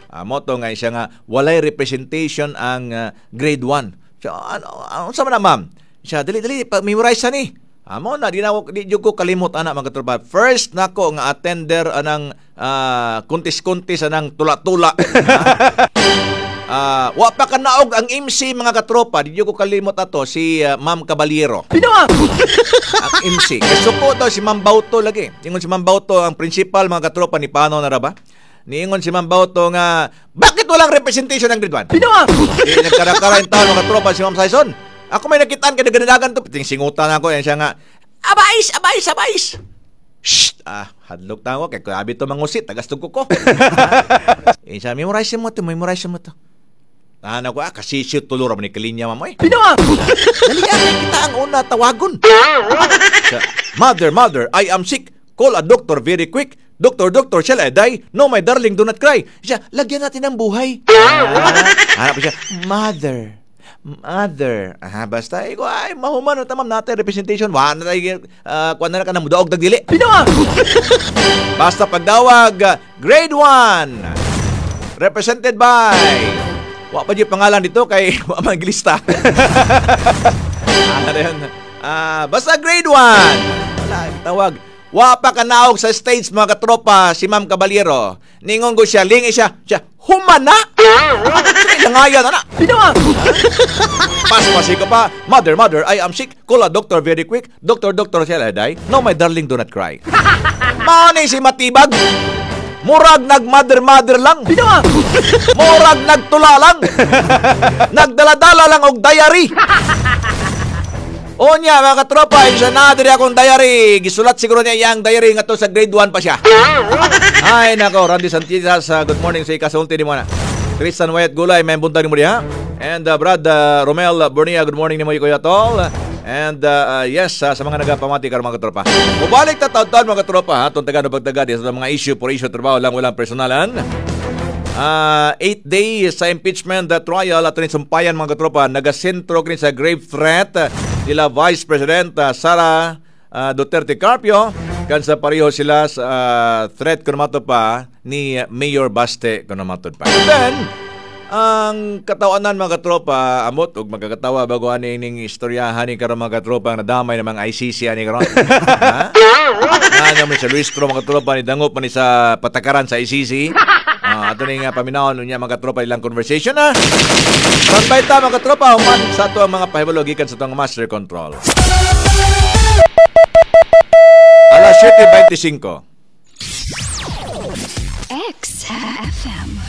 S1: Ah, mo to nga siya nga walay representation ang uh, grade one. So, ano, ano sa man na, ma'am? Siya, dali dali pa memorize ni. Amo na di na di jud ko kalimot ana, mga katropa. First nako nga attender anang uh, kuntis-kuntis anang tula-tula. Ah, wa pa kanaog ang M C, mga katropa, di jud ko kalimot ato si uh, Ma'am Caballero. Ang M C. Kay suko daw si Ma'am Bauto lagi. Ingon si Ma'am Bauto, ang principal, mga katropa, ni Pano na ra ba? Niingon si Ma'am Bauto nga, bakit walang representation ng grade one? Di nagkarakara yung taon, mga katropa, si Ma'am Saison. Ako may nakitaan kay nagdandagan to. Ting singutan ako yan siya nga, abais, abais, abais. Shh! Ah, hadlok ta ako kay grabe to mangusit, tagastog ko ko. Eh, siya, memorize mo to, memorize mo to. Ah, nako, ah, kasi siya tulor ni kalinya mamo eh. Dali ah, kita ang una tawagon. Siya, mother, mother, I am sick. Call a doctor very quick. Doctor, doctor, shall I die? No, my darling, do not cry. Siya, lagyan natin ng buhay. Ah, hanap siya, mother, mother. Ah, basta, ikaw, ay, mahuman, tamam natin, representation. Wala na tayo, uh, kuwan na ka na, mudaog, dagdili. Basta pagdawag, uh, grade one, represented by, wa pa yung pangalan dito kay wa man gilista. Ano yun? Ah, basta grade one. Wala, tawag. Wa pa kanaog sa stage, mga katropa, si Ma'am Caballero. Ningon ko siya, lingi siya, siya, humana! Langayan, ana. Pas ko pa, mother, mother, I am sick. Call a doctor very quick. Doctor, doctor, shall I die? No, my darling, do not cry. Mao ni si Matibag. Murag nag-mother-mother lang. Murag nagtula lang. Nagdala-dala lang og diary. Unya, mga katropa, siya na diri akong diary. Gisulat siguro niya iyang diary nga to sa grade one pa siya. Ay nako, Randy Santitas, uh, good morning sa ikasulti ni mo na. Tristan Wyatt Gulay, may buntag ni mo diha. And uh, Brad uh, Romel Bornia, good morning nimo, Kuya Tol. And uh, uh, yes, uh, sa mga nagapamati karon, mga katropa. Mubalik ta taon mga katropa, ha, tong taga pagtaga sa mga issue por issue trabaho lang, walang personalan. Uh, eight days sa impeachment uh, trial at rin sumpayan, mga katropa, nagasentro kini sa grave threat nila Vice President uh, Sara uh, Duterte Carpio. Kan sa pareho sila sa ah, threat kuno mato pa ni Mayor Baste kuno matod pa. And then, ang katawanan, mga katropa, amot og magkakatawa bago ani ning istoryahan ni karon, mga katropa, ang nadamay namang I C C ani karon. Ha? Na naman sa Luistro, mga katropa, ni dangop man ni sa patakaran sa I C C. Ah, ato ning uh, paminawon unya, mga katropa, ilang conversation na. Standby ta, mga katropa, human sa ato ang mga pahibalo gikan sa atong master control. Alas siyete bentisiingko.
S9: X F M.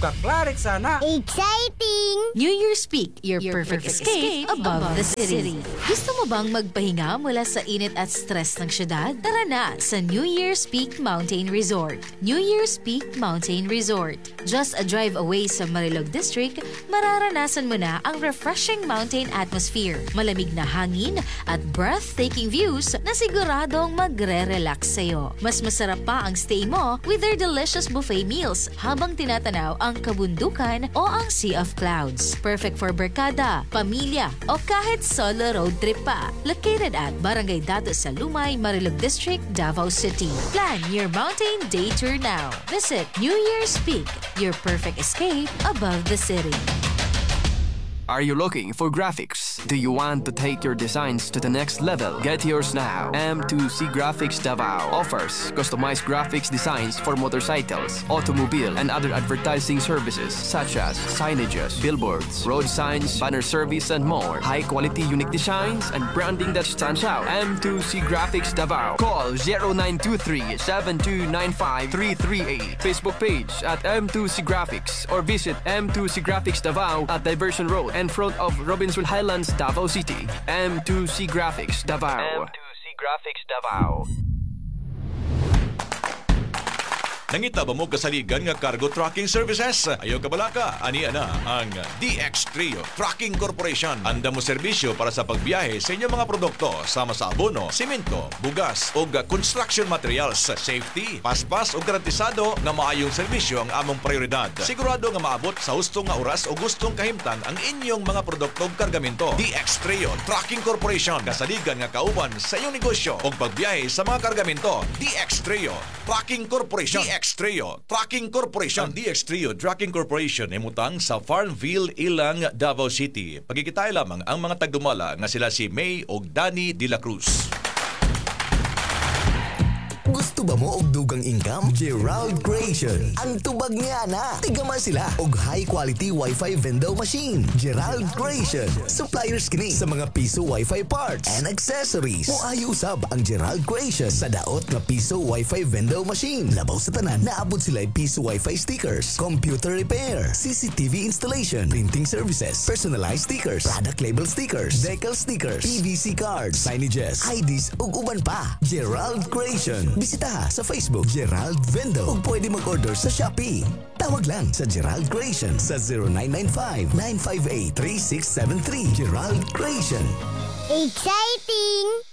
S14: Kaklarik sana.
S9: Exciting!
S8: New Year's Peak, your perfect escape above the city. Gusto mo bang magpahinga mula sa init at stress ng syudad? Tara na sa New Year's Peak Mountain Resort. New Year's Peak Mountain Resort. Just a drive away sa Marilog District, mararanasan mo na ang refreshing mountain atmosphere, malamig na hangin at breathtaking views na siguradong magre-relax sa'yo. Mas masarap pa ang stay mo with their delicious buffet meals habang tinatanaw ang kabundukan o ang Sea of Clouds. Perfect for barkada, pamilya, o kahit solo road trip pa. Located at Barangay Dato sa Lumay, Marilog District, Davao City. Plan your mountain day tour now. Visit New Year's Peak, your perfect escape above the city.
S15: Are you looking for graphics? Do you want to take your designs to the next level? Get yours now. M two C Graphics Davao offers customized graphics designs for motorcycles, automobile, and other advertising services such as signages, billboards, road signs, banner service, and more. High quality, unique designs and branding that stands out. M two C Graphics Davao. Call zero nine two three seven two nine five three three eight. Facebook page at M two C Graphics or visit M two C Graphics Davao at Diversion Road in front of Robinson Highlands, Davao City. M two C Graphics Davao. M two C Graphics Davao.
S1: Nangita ba mo kasaligan nga cargo trucking services? Ayaw kabalaka, ani na ang D X Trio Trucking Corporation. Anda mo serbisyo para sa pagbiyahe sa inyong mga produkto sama sa abono, simento, bugas o construction materials. Safety, paspas o garantisado nga maayong serbisyo ang among prioridad. Sigurado nga maabot sa husto nga oras o gustong kahimtang ang inyong mga produkto ug kargamento. D X Trio Trucking Corporation. Kasaligan nga kauban sa inyong negosyo o pagbiyahe sa mga kargamento. D X Trio Trucking Corporation. D X Trio Trucking Corporation. Ang D X Trio Trucking Corporation imutang sa Farmville, Ilang, Davao City. Pagkikitay lamang ang mga tagdumala nga sila si May og Danny De La Cruz.
S16: Gusto ba mo og dugang income? Gerald Creation. Ang tubag niya na. Tigama sila og high quality Wi-Fi vendor machine. Gerald Creation. Suppliers kini sa mga piso Wi-Fi parts and accessories. Moayo usab ang Gerald Creation sa daot nga piso Wi-Fi vendor machine. Labaw sa tanan, naabot sila piso Wi-Fi stickers, computer repair, C C T V installation, printing services, personalized stickers, product label stickers, decal stickers, P V C cards, signages, I Ds ug uban pa. Gerald Creation. Bisita sa Facebook Gerald Vendo ug pwede mag-order sa Shopee. Tawag lang sa Gerald Creation sa zero nine nine five, nine five eight, three six seven three. Gerald Creation.
S9: Exciting!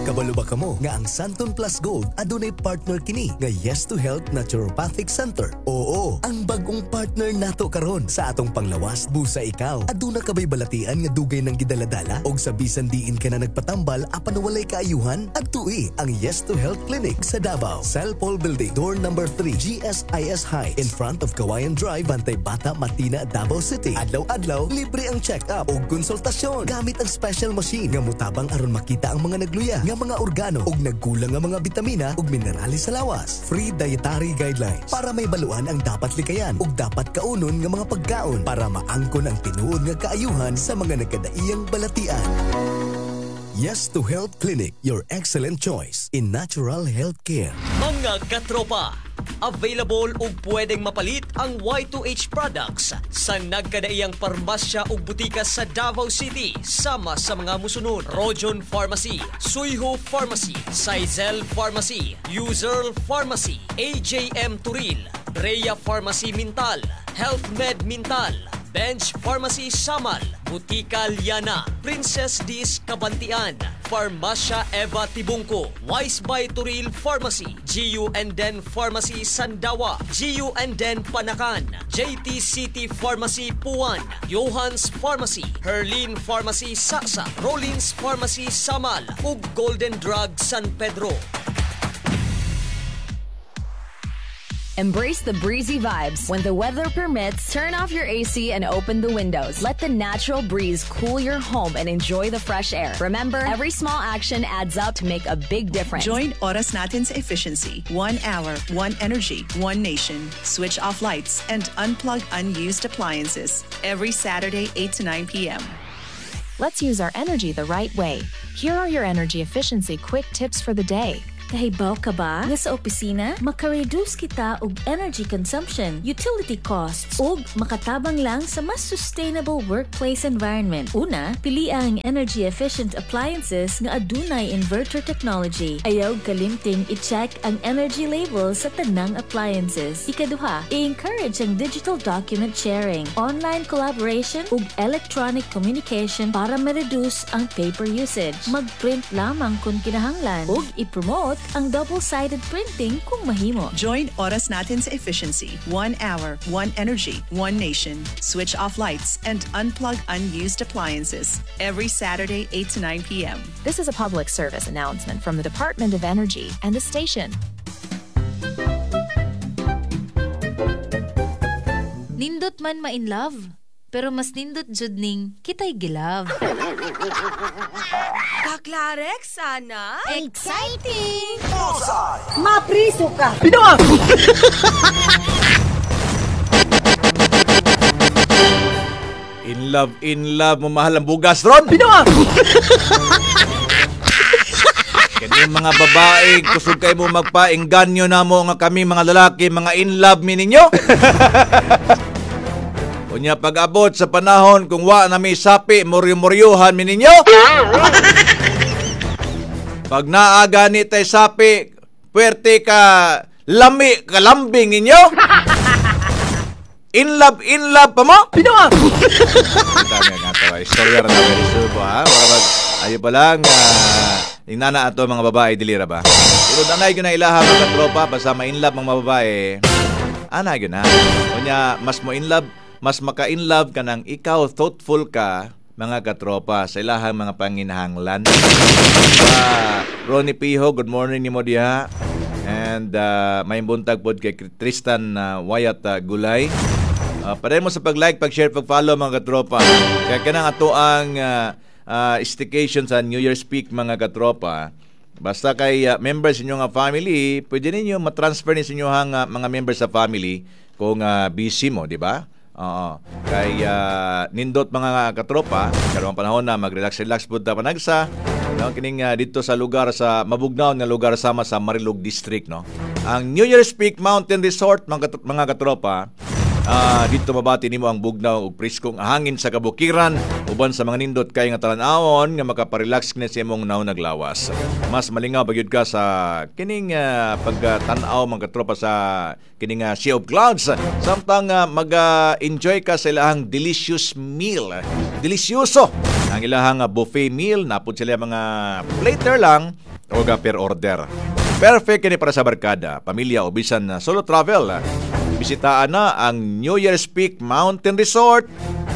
S16: Kabalo ba kamo nga ang Santon Plus Gold adunay partner kini nga Yes to Health Naturopathic Center? Oo, ang bagong partner nato karon sa atong panglawas. Busa ikaw, aduna ka bay balatian nga dugay nang gidaladala og sa bisan diin ka na nagpatambal apan walay kaayuhan? Adtui ang Yes to Health Clinic sa Davao. Cellpol Building, door number three, G S I S High, in front of Kawayan Drive, Bantay Bata, Matina, Davao City. Adlaw-adlaw, libre ang check-up ug konsultasyon gamit ang special machine nga mutabang aron makita ang mga nagluya nga mga organo ug nagkulang nga mga bitamina ug minerales sa lawas. Free dietary guidelines para may baluan ang dapat likayan ug dapat kaunon nga mga pagkaon para maangkon ang tinuod nga kaayuhan sa mga nagkadaiyang balatian. Yes to Health Clinic, your excellent choice in natural health care.
S17: Mga katropa, available ug pwedeng mapalit ang Y two H products sa nagkadaiyang parmasya ug butika sa Davao City sama sa mga musunod: Rojon Pharmacy, Suyho Pharmacy, Saizel Pharmacy, Userl Pharmacy, A J M Turil, Brea Pharmacy Mintal, Health Med Mintal, Bench Pharmacy Samal, Butika Liana, Princess Dis Kabantian, Farmacia Eva Tibungko, Wise by Turil Pharmacy, G U and Den Pharmacy Sandawa, G U and Den Panacan, J T City Pharmacy Puan, Johans Pharmacy, Herlene Pharmacy Saksa, Rollins Pharmacy Samal, ug Golden Drug San Pedro.
S18: Embrace the breezy vibes. When the weather permits, turn off your A C and open the windows. Let the natural breeze cool your home and enjoy the fresh air. Remember, every small action adds up to make a big difference.
S7: Join Oras Natin sa Efficiency. One hour, one energy, one nation. Switch off lights and unplug unused appliances. Every Saturday, eight to nine p m.
S6: Let's use our energy the right way. Here are your energy efficiency quick tips for the day.
S8: Kahibaw ka ba nga sa opisina, maka-reduce kita og energy consumption, utility costs, ug makatabang lang sa mas sustainable workplace environment? Una, pili ang energy efficient appliances nga adunay inverter technology. Ayaw kalimting i-check ang energy label sa tanang appliances. Ikaduha, i-encourage ang digital document sharing, online collaboration ug electronic communication para ma-reduce ang paper usage. Mag-print lamang kung kinahanglan ug i-promote ang double-sided printing kung mahimo.
S7: Join Oras Natin sa Efficiency. One hour, one energy, one nation. Switch off lights and unplug unused appliances. Every Saturday, eight to nine p m.
S6: This is a public service announcement from the Department of Energy and the station.
S19: Nindot man ma in love, pero mas nindot jud ning kitay gilove.
S20: Kaklarek sana.
S9: Exciting!
S2: Bullseye!
S20: Mapriso ka.
S2: Binawa!
S1: In love, in love, mamahal ang bugas ron.
S2: Binawa!
S1: Kani mga babae, kusog kay mo magpaengganyo na mo nga kami mga lalaki, mga in love mi ninyo. Unya pag-abot sa panahon kung wa na mi sapi, muryo-muryuhan mi ninyo. Pag naa gani tay sapi, puwerte ka lami, kalambing ninyo. In love, in love pa mo?
S2: Binawa!
S1: Dami nga to. Istorya ra na very subo, ha? Wala ba, ayo pa lang, uh, inana ato mga babae, dilira ba? Pero danay ko na ilaha mga tropa, basta ma-in love mga babae, ana yun na. Unya, mas mo in love, mas maka-in love ka nang ikaw thoughtful ka, mga katropa, sa ilahang mga panginahanglan. Uh, Ronnie Piho, good morning nimo diha. And uh, may buntag pod kay Tristan uh, Wyatt uh, Gulay. Uh, padayon mo sa pag-like, pag-share, pag-follow mga katropa. Kaya kanang ato ang uh, uh, staycation sa New Year's Peak mga katropa. Basta kay uh, members inyo nga family, pwede ninyo matransfer ni sa inyo uh, mga members sa family kung uh, busy mo, di ba? Oo. Kay uh, nindot mga katropa, karong panahon na mag-relax-relax pud ta panagsa. No, kining uh, dito sa lugar sa mabugnaw nga lugar sama sa Marilog District, no. Ang New Year's Peak Mountain Resort mga, mga katropa, Uh, dito mabati nimo ang bugnaw ug preskong hangin sa kabukiran uban sa mga nindot kay nga talan-awon nga makaparelax kini sa imong naunag lawas. Mas malingaw pa gyud ka sa kining uh, pagtan-aw mga katropa sa kining uh, Sea of Clouds samtang uh, mag-enjoy ka sa ilahang delicious meal. Delisyoso ang ilahang uh, buffet meal, napud sila mga plater lang o per order. Perfect kini para sa barkada, pamilya o bisan uh, solo travel. Bisitaan na ang New Year's Peak Mountain Resort.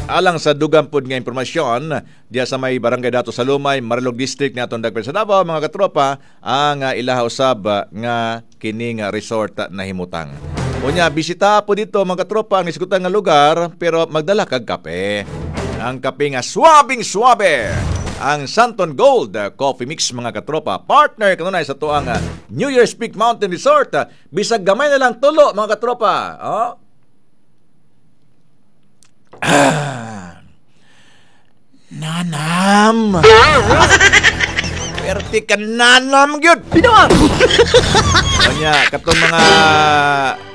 S1: Alang sa dugang pod nga impormasyon diya sa may Barangay Dato sa Lumay, Marilog District ni atong dagpen sa Davao mga katropa, ang uh, ilaha usab uh, nga kining uh, resort uh, nahimutang. Unya bisita po dito mga katropa ang isgutan nga lugar pero magdala kag kape. Ang kape nga swabing swabe. Ang Santon Gold uh, Coffee Mix mga katropa, partner kanunay sa tuang uh, New Year's Peak Mountain Resort. Uh, bisag gamay na lang tulo mga katropa. Oh. Ah. Nanam. Perti ka nanam gyud.
S2: Binawa!
S1: Kanya, katong mga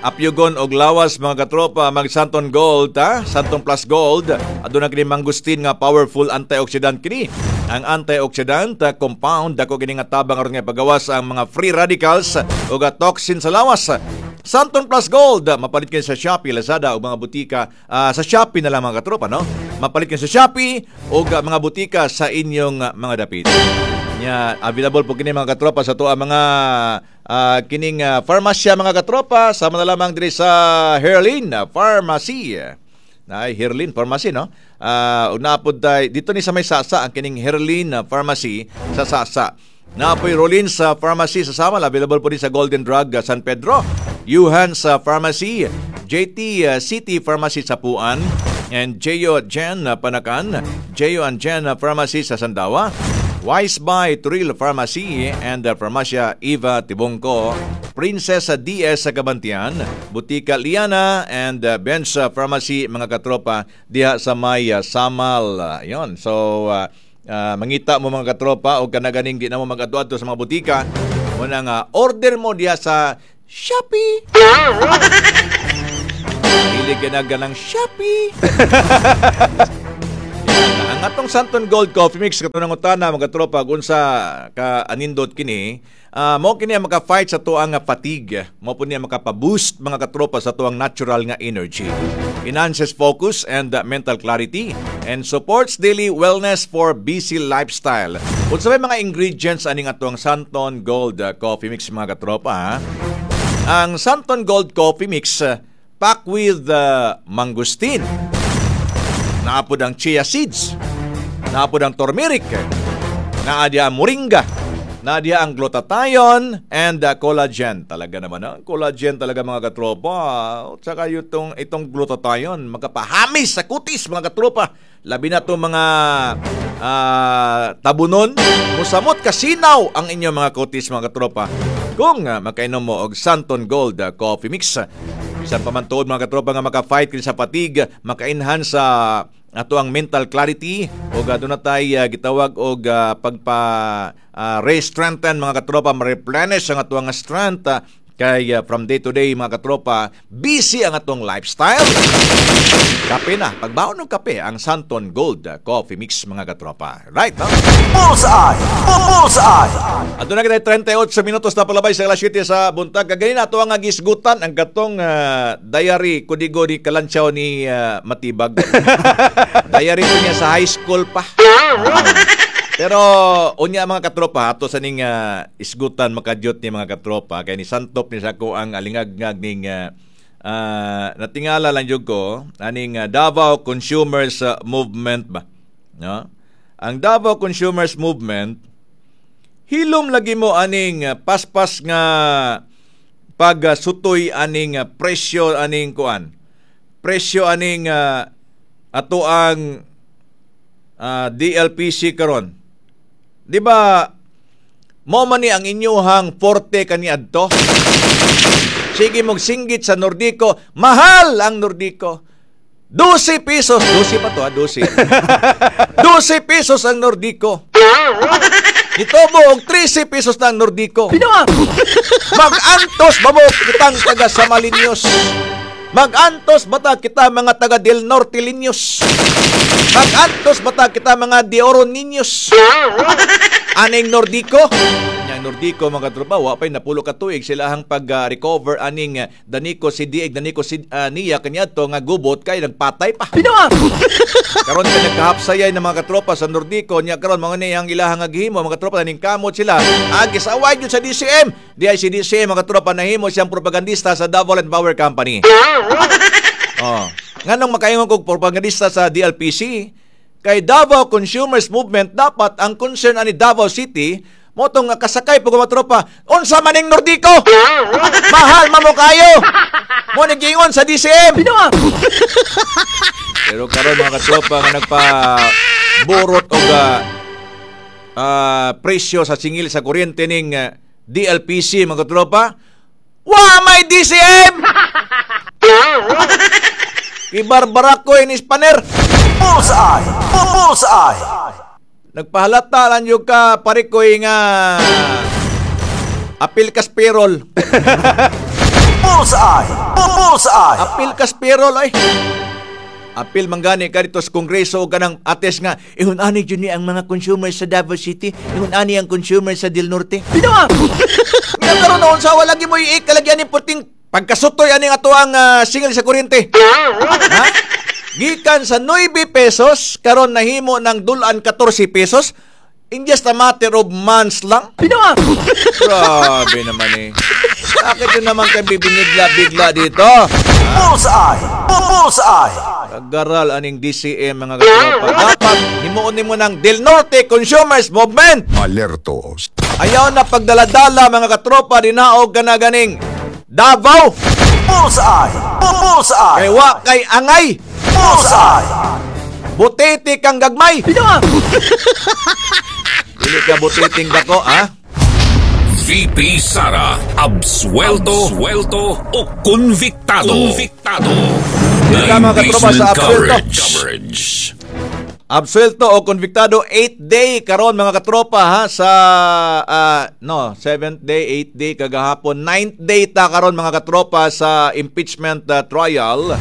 S1: apyugon og lawas mga katropa, mag Santon Gold, ha? Santon Plus Gold. Aduna kini mangustin nga powerful antioxidant kini. Ang antioxidant uh, compound dako kini nga tabang aron nga pagawas ang mga free radicals ug toxin sa lawas. Santon Plus Gold, mapalit kini sa Shopee, Lazada ug mga butika, uh, sa Shopee na lang mga katropa, no? Mapalit kini sa Shopee ug mga butika sa inyong mga dapit. Nya available po kini mga katropa sa tuwa mga uh, kining uh, farmasya mga katropa, sama na lamang diri sa Herlin Pharmacy. Naay Herlin Pharmacy, no? Uh, ug naapod tay dito ni sa may Sasa ang kining Herlin Pharmacy sa Sasa. Naapoy Rollins sa Pharmacy sa Samal, available po din sa Golden Drug uh, San Pedro, Yuhan sa Pharmacy, J T uh, City Pharmacy sa Puan, and Jeyo Jen uh, Panakan, Jeyo and Jen uh, Pharmacy sa Sandawa, Wise by Turil Pharmacy and uh, Farmacia Eva Tibongko, Princess D S sa Kabantian, Butika Liana and uh, Bench Pharmacy mga katropa diha sa may uh, Samal. Uh, yon. So uh, uh, mangita mo mga katropa o kanaganing di na mo mag-adto-adto sa mga butika, muna nga order mo diha sa Shopee. Dili ganaga ng Shopee. Ang atong Santon Gold Coffee Mix katong nangutana mga katropa kung unsa ka anindot kini, uh, mao kini ang maka-fight sa tuang fatigue, mao pud niya makapa-boost mga katropa sa tuang natural nga energy. Enhances focus and uh, mental clarity and supports daily wellness for busy lifestyle. Unsa may mga ingredients aning atong Santon Gold uh, Coffee Mix mga katropa, ha? Ang Santon Gold Coffee Mix uh, packed with uh, mangosteen. Naapod ang chia seeds, naapod ang turmeric, naadya ang moringa, naadya ang glutathione and uh, collagen. Talaga naman, ang collagen talaga mga katropa. At saka itong, itong glutathione, makapahamis sa kutis mga katropa. Labi na itong mga uh, tabunon, musamot kasinaw ang inyong mga kutis mga katropa. Kung uh, makainom mo og Santon Gold uh, Coffee Mix. Bisan pa man tuod mga katropa nga maka-fight kini sa fatigue, maka-enhance sa uh, ato ang mental clarity o uh, doon na tay uh, gitawag og uh, pagpa uh, re-strengthen mga katropa, ma-replenish ang ato ang strength uh, kay uh, from day to day mga katropa, busy ang atong lifestyle. Kape na, pagbaon ng kape ang Santon Gold Coffee Mix mga katropa. Right, no?
S2: Bullseye! Bullseye!
S1: Ato na kita trentayotso minutos na palabay sa alas siyete sa buntag. Kaganin ato ang gisgutan ang katong uh, diary kudigo ni Kalantsaw ni uh, Matibag. Diary ko niya sa high school pa. Pero unya mga katropa ato sa ning uh, isgutan makadyot ni mga katropa kay ni santop ni sa ako ang alingagngag ning uh, uh, natingala lang jud ko aning uh, Davao Consumers uh, Movement ba, no? Ang Davao Consumers Movement hilom lagi mo aning uh, paspas nga pagsutoy aning uh, presyo aning kuan. Presyo aning uh, ato ang uh, D L P C karon. Di ba mo man ni ang inyuhang forte kaniadto? Sige mong singgit sa Nordico, mahal ang Nordico. dose pesos, dose pa to ha, dose. dose pesos ang Nordico. Ito mo og trese pesos na ang Nordico. Mag-antos ba mo kitang taga Samalinyos? Mag-antos bata kita mga taga Del Norte Linyos? Mag-antos bata kita mga de Oro Niños? Aning Nordico? Ang Nordico mga katropa, wa pay napulo ka tuig sila ang pag-recover uh, aning uh, Danico si Dieg, Danico si uh, niya kaniadto nga gubot kay nagpatay pa. Karon kay nagkahapsayay ng mga katropa sa Nordico niya karon mga ni ang ilahang gihimo mga katropa ning kamot sila agis away gyud sa D C M. Di ay si D C M mga katropa nahimo siyang propagandista sa Davao Land Power Company. Oh, nganong makaingon kog propagandista sa D L P C kay Davao Consumers Movement dapat ang concern ani Davao City motong kasakay pag mga tropa, unsa maning Nordico? Mahal man mo kayo. Mo naggingon sa D C M. Pero karon mga katropa nga nagpa borot og uh, uh, presyo sa singil sa kuryente ning uh, D L P C mga katropa, wa may D C M. Ibarbara ko ini Spaner.
S2: Bullseye! Bullseye!
S1: Nagpahalata lang yung ka parikoy nga apil kas payroll.
S2: Bullseye! Bullseye!
S1: Apil kas payroll ay. Apil manggani ka dito sa Kongreso o kanang ates nga ihun ani jud ni ang mga consumer sa Davao City, ihun ani ang consumer sa Del Norte. Pinawa. Nga karon noon sa wala gyud mo ikalagyan ni puting pagkasutoy ani ato ang uh, singil sa kuryente. Ha? Gikan sa nueve pesos, karon nahimo ng dulan katorse pesos, In just a matter of months lang? Grabe naman eh. Bakit yun naman kayo bibinigla-bigla dito?
S2: Bullseye! Bullseye!
S1: Kagaral aning D C M, mga katropa. Dapat himuon nimo ng Del Norte Consumers Movement.
S3: Alerto.
S1: Ayaw na pagdaladala, mga katropa, dinaog ka na ganing Davao.
S2: Bullseye! Bullseye!
S1: Kay wa kay angay.
S2: Bullseye!
S1: Butete kang gagmay. Dili ka butiting dako, ha?
S3: V P Sara, absuelto, absuelto o convictado. Convictado.
S1: Dili ka, mga katropa, sa absuelto.
S3: Coverage. Coverage.
S1: Absuelto o konbiktado, eighth day karon, mga katropa, ha, sa ah, no, seventh day, eighth day kagahapon, ninth day ta karon, mga katropa, sa impeachment ah, trial.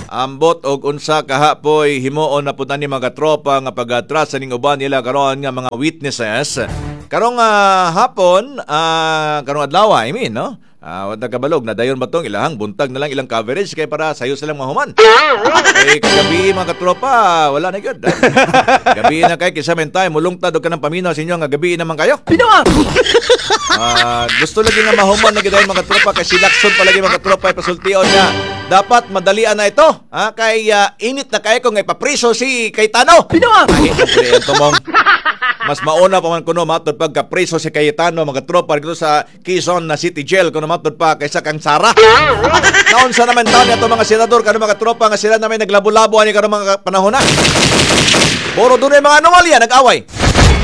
S1: Ambot og unsa kahapoy himuon na pud ni, mga katropa, nga pagatras sa ning uban nila karon nga mga witnesses. Karong ah, hapon, ah, karong adlaw, I mean, no? Ah, uh, kabalog na dayon ba tong ilahang buntag na lang ilang coverage kay para sayo silang mahuman. Eh kagabi, mga katropa, wala na gyud. Gabi na kay kisa men tayo mulungtad og kanang paminaw sa inyo nga gabi naman kayo. Ah, gusto lagi nga mahuman na gyud, mga katropa, kay si Lacson palagi, mga katropa, ipasultion nga dapat madalian na ito. Ha, kay ah, init na kayo kung ipapriso si Cayetano. Ay, pre, ang tumong. Mas mauna pa man kuno matod pagka preso si Cayetano, mga tropa, dito sa Quezon na City Jail kuno matod pa kaysa kang Sara. Naunsa naman taon ato mga senador kano, mga tropa, nga sila naman naglabo-labo ani karon mga panahon na. Puro dunay mga anomalya, nag-away.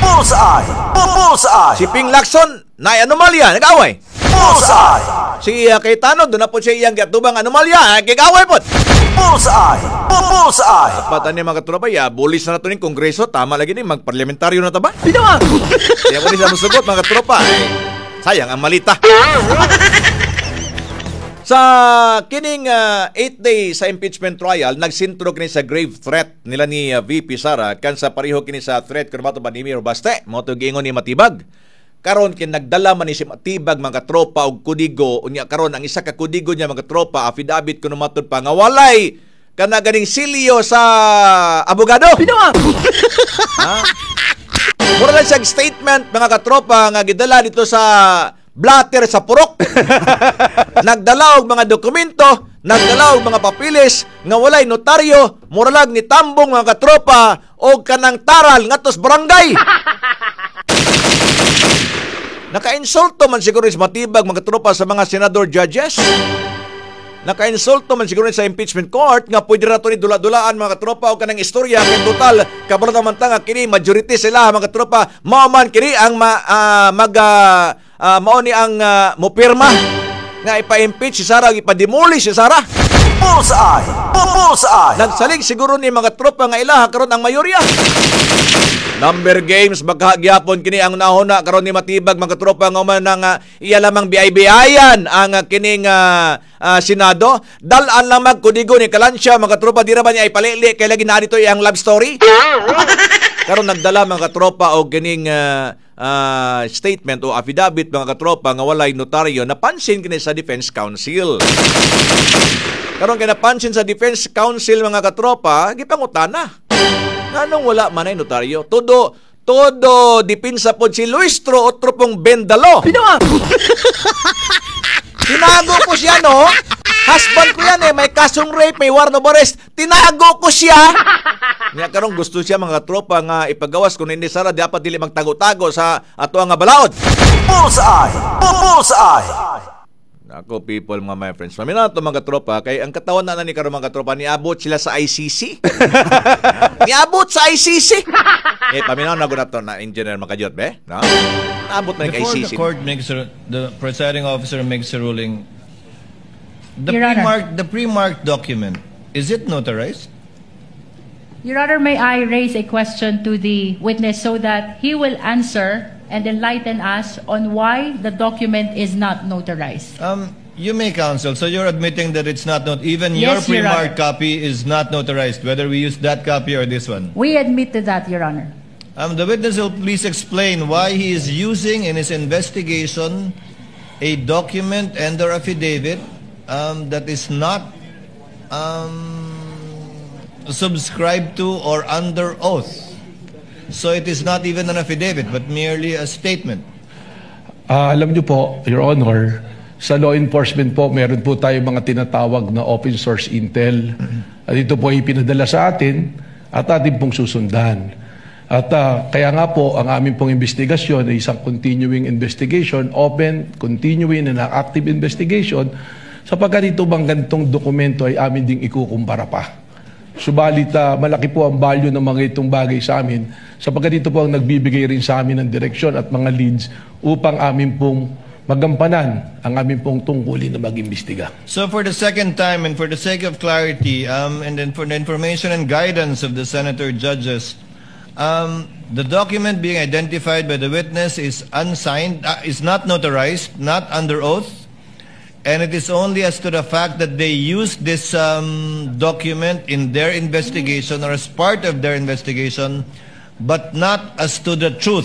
S2: Bullseye! Bullseye!
S1: Si Ping Lacson na anomalya, nag-away.
S2: Bullseye!
S1: Si uh, Cayetano doon na po siya iyang giatubang anomalya, gigaway po.
S2: Bullseye! Bullseye!
S1: Dapat ani, mga katropa, ya, bulis na nato ning kongreso, tama lagi ni magparliamentaryo na ta ba? Di ako ni sa musugot, mga katropa. Ay, sayang ang malita. Sa kining eighth day sa impeachment trial, nagsintro kini sa grave threat nila ni uh, V P Sara kan sa pareho kini sa threat kun mato ba ni Mayor Baste, mao to giingon ni Matibag. Karon kin nagdala man ni si Matibag, mga tropa, og kodigo. Unya karon ang isa ka kodigo niya, mga tropa, affidavit kuno matud pa nga walay kana ganing silyo sa abogado. Ha? Mura lang siyang statement, mga katropa, nga gidala dito sa blatter sa purok. Nagdala og mga dokumento, nagdala og mga papilis nga walay notaryo, mura lang ni tambong, mga katropa, og kanang taral ngadto sa barangay. Naka-insulto man siguro is Matibag, mga tropa, sa mga senador judges. Naka-insulto man siguro sa impeachment court nga pwede ra to ni dula-dulaan, mga katropa, og kanang istorya kay total kabalo naman ta nga kini majority sila, mga katropa, mao man kini ang ma, ah, mag ah, ah, mao ni ang uh, mopirma nga ipa-impeach si Sara, ipa-demolish si Sara.
S2: Bullseye! Bullseye!
S1: Nagsalig siguro ni mga tropa nga ilaha karon ang mayorya. Number games magkagyapon kini ang nahuna karon ni Matibag, mga tropa, nga man nga iya lamang B I B-ayan ang uh, kining uh, uh, Senado. Dal-an lang magkudigo ni Kalansya, mga tropa, di ra ba niya ipalili kay lagi na dito iyang love story. Karon nagdala, mga katropa, og kining uh, uh, statement o affidavit, mga katropa, nga walay notaryo, napansin kini sa Defense Council. Karon kay napansin sa Defense Council, mga katropa, gipangutana. Nganong wala man ay notaryo? Todo todo dipinsa pod si Luistro, otro pong Bendalo. Tinago ko siya, no? Husband ko yan eh. May kasong rape, may warrant of arrest. Tinago ko siya. Nga karon gusto siya, mga tropa, nga ipagawas kung hindi Sara dapat dili magtago-tago sa ato nga balaod.
S2: Bullseye! Bullseye!
S1: Ako people, mga my friends. Mamina to, mga tropa, kay ang katawan na na ni karon, mga tropa, niabot sila sa I C C. Niabot sa I C C. Eh paminaw na gud to na engineer makajot be, no? Naabot na kay
S11: Before
S1: I C C.
S11: the court makes a, the presiding officer makes a ruling, the
S13: Your Honor.
S11: pre-marked the pre-marked document, is it notarized?
S13: Your Honor, may I raise a question to the witness so that he will answer and enlighten us on why the document is not notarized?
S11: Um, you may, counsel. So you're admitting that it's not not even your
S13: Yes, Your
S11: pre-marked copy is not notarized, whether we use that copy or this one.
S13: We admit to that, Your Honor.
S11: Um, the witness will please explain why he is using in his investigation a document and or affidavit um, that is not um, subscribed to or under oath. So it is not even an affidavit, but merely a statement.
S10: Ah, alam niyo po, Your Honor, sa law enforcement po, meron po tayo mga tinatawag na open source intel. At ito po ay pinadala sa atin at atin pong susundan. At ah, kaya nga po, ang aming pong investigasyon ay isang continuing investigation, open, continuing and active investigation, sapagkat ito bang gantong dokumento ay amin ding ikukumpara pa. Subalit, ah, malaki po ang value ng mga itong bagay sa amin sapagkat ito po ang nagbibigay rin sa amin ng direksyon at mga leads upang amin pong magampanan ang aming pong tungkulin na mag-imbestiga.
S11: So for the second time and for the sake of clarity, um, and then for the information and guidance of the senator judges, um, the document being identified by the witness is unsigned, uh, is not notarized, not under oath, and it is only as to the fact that they used this um, document in their investigation or as part of their investigation, but not as to the truth.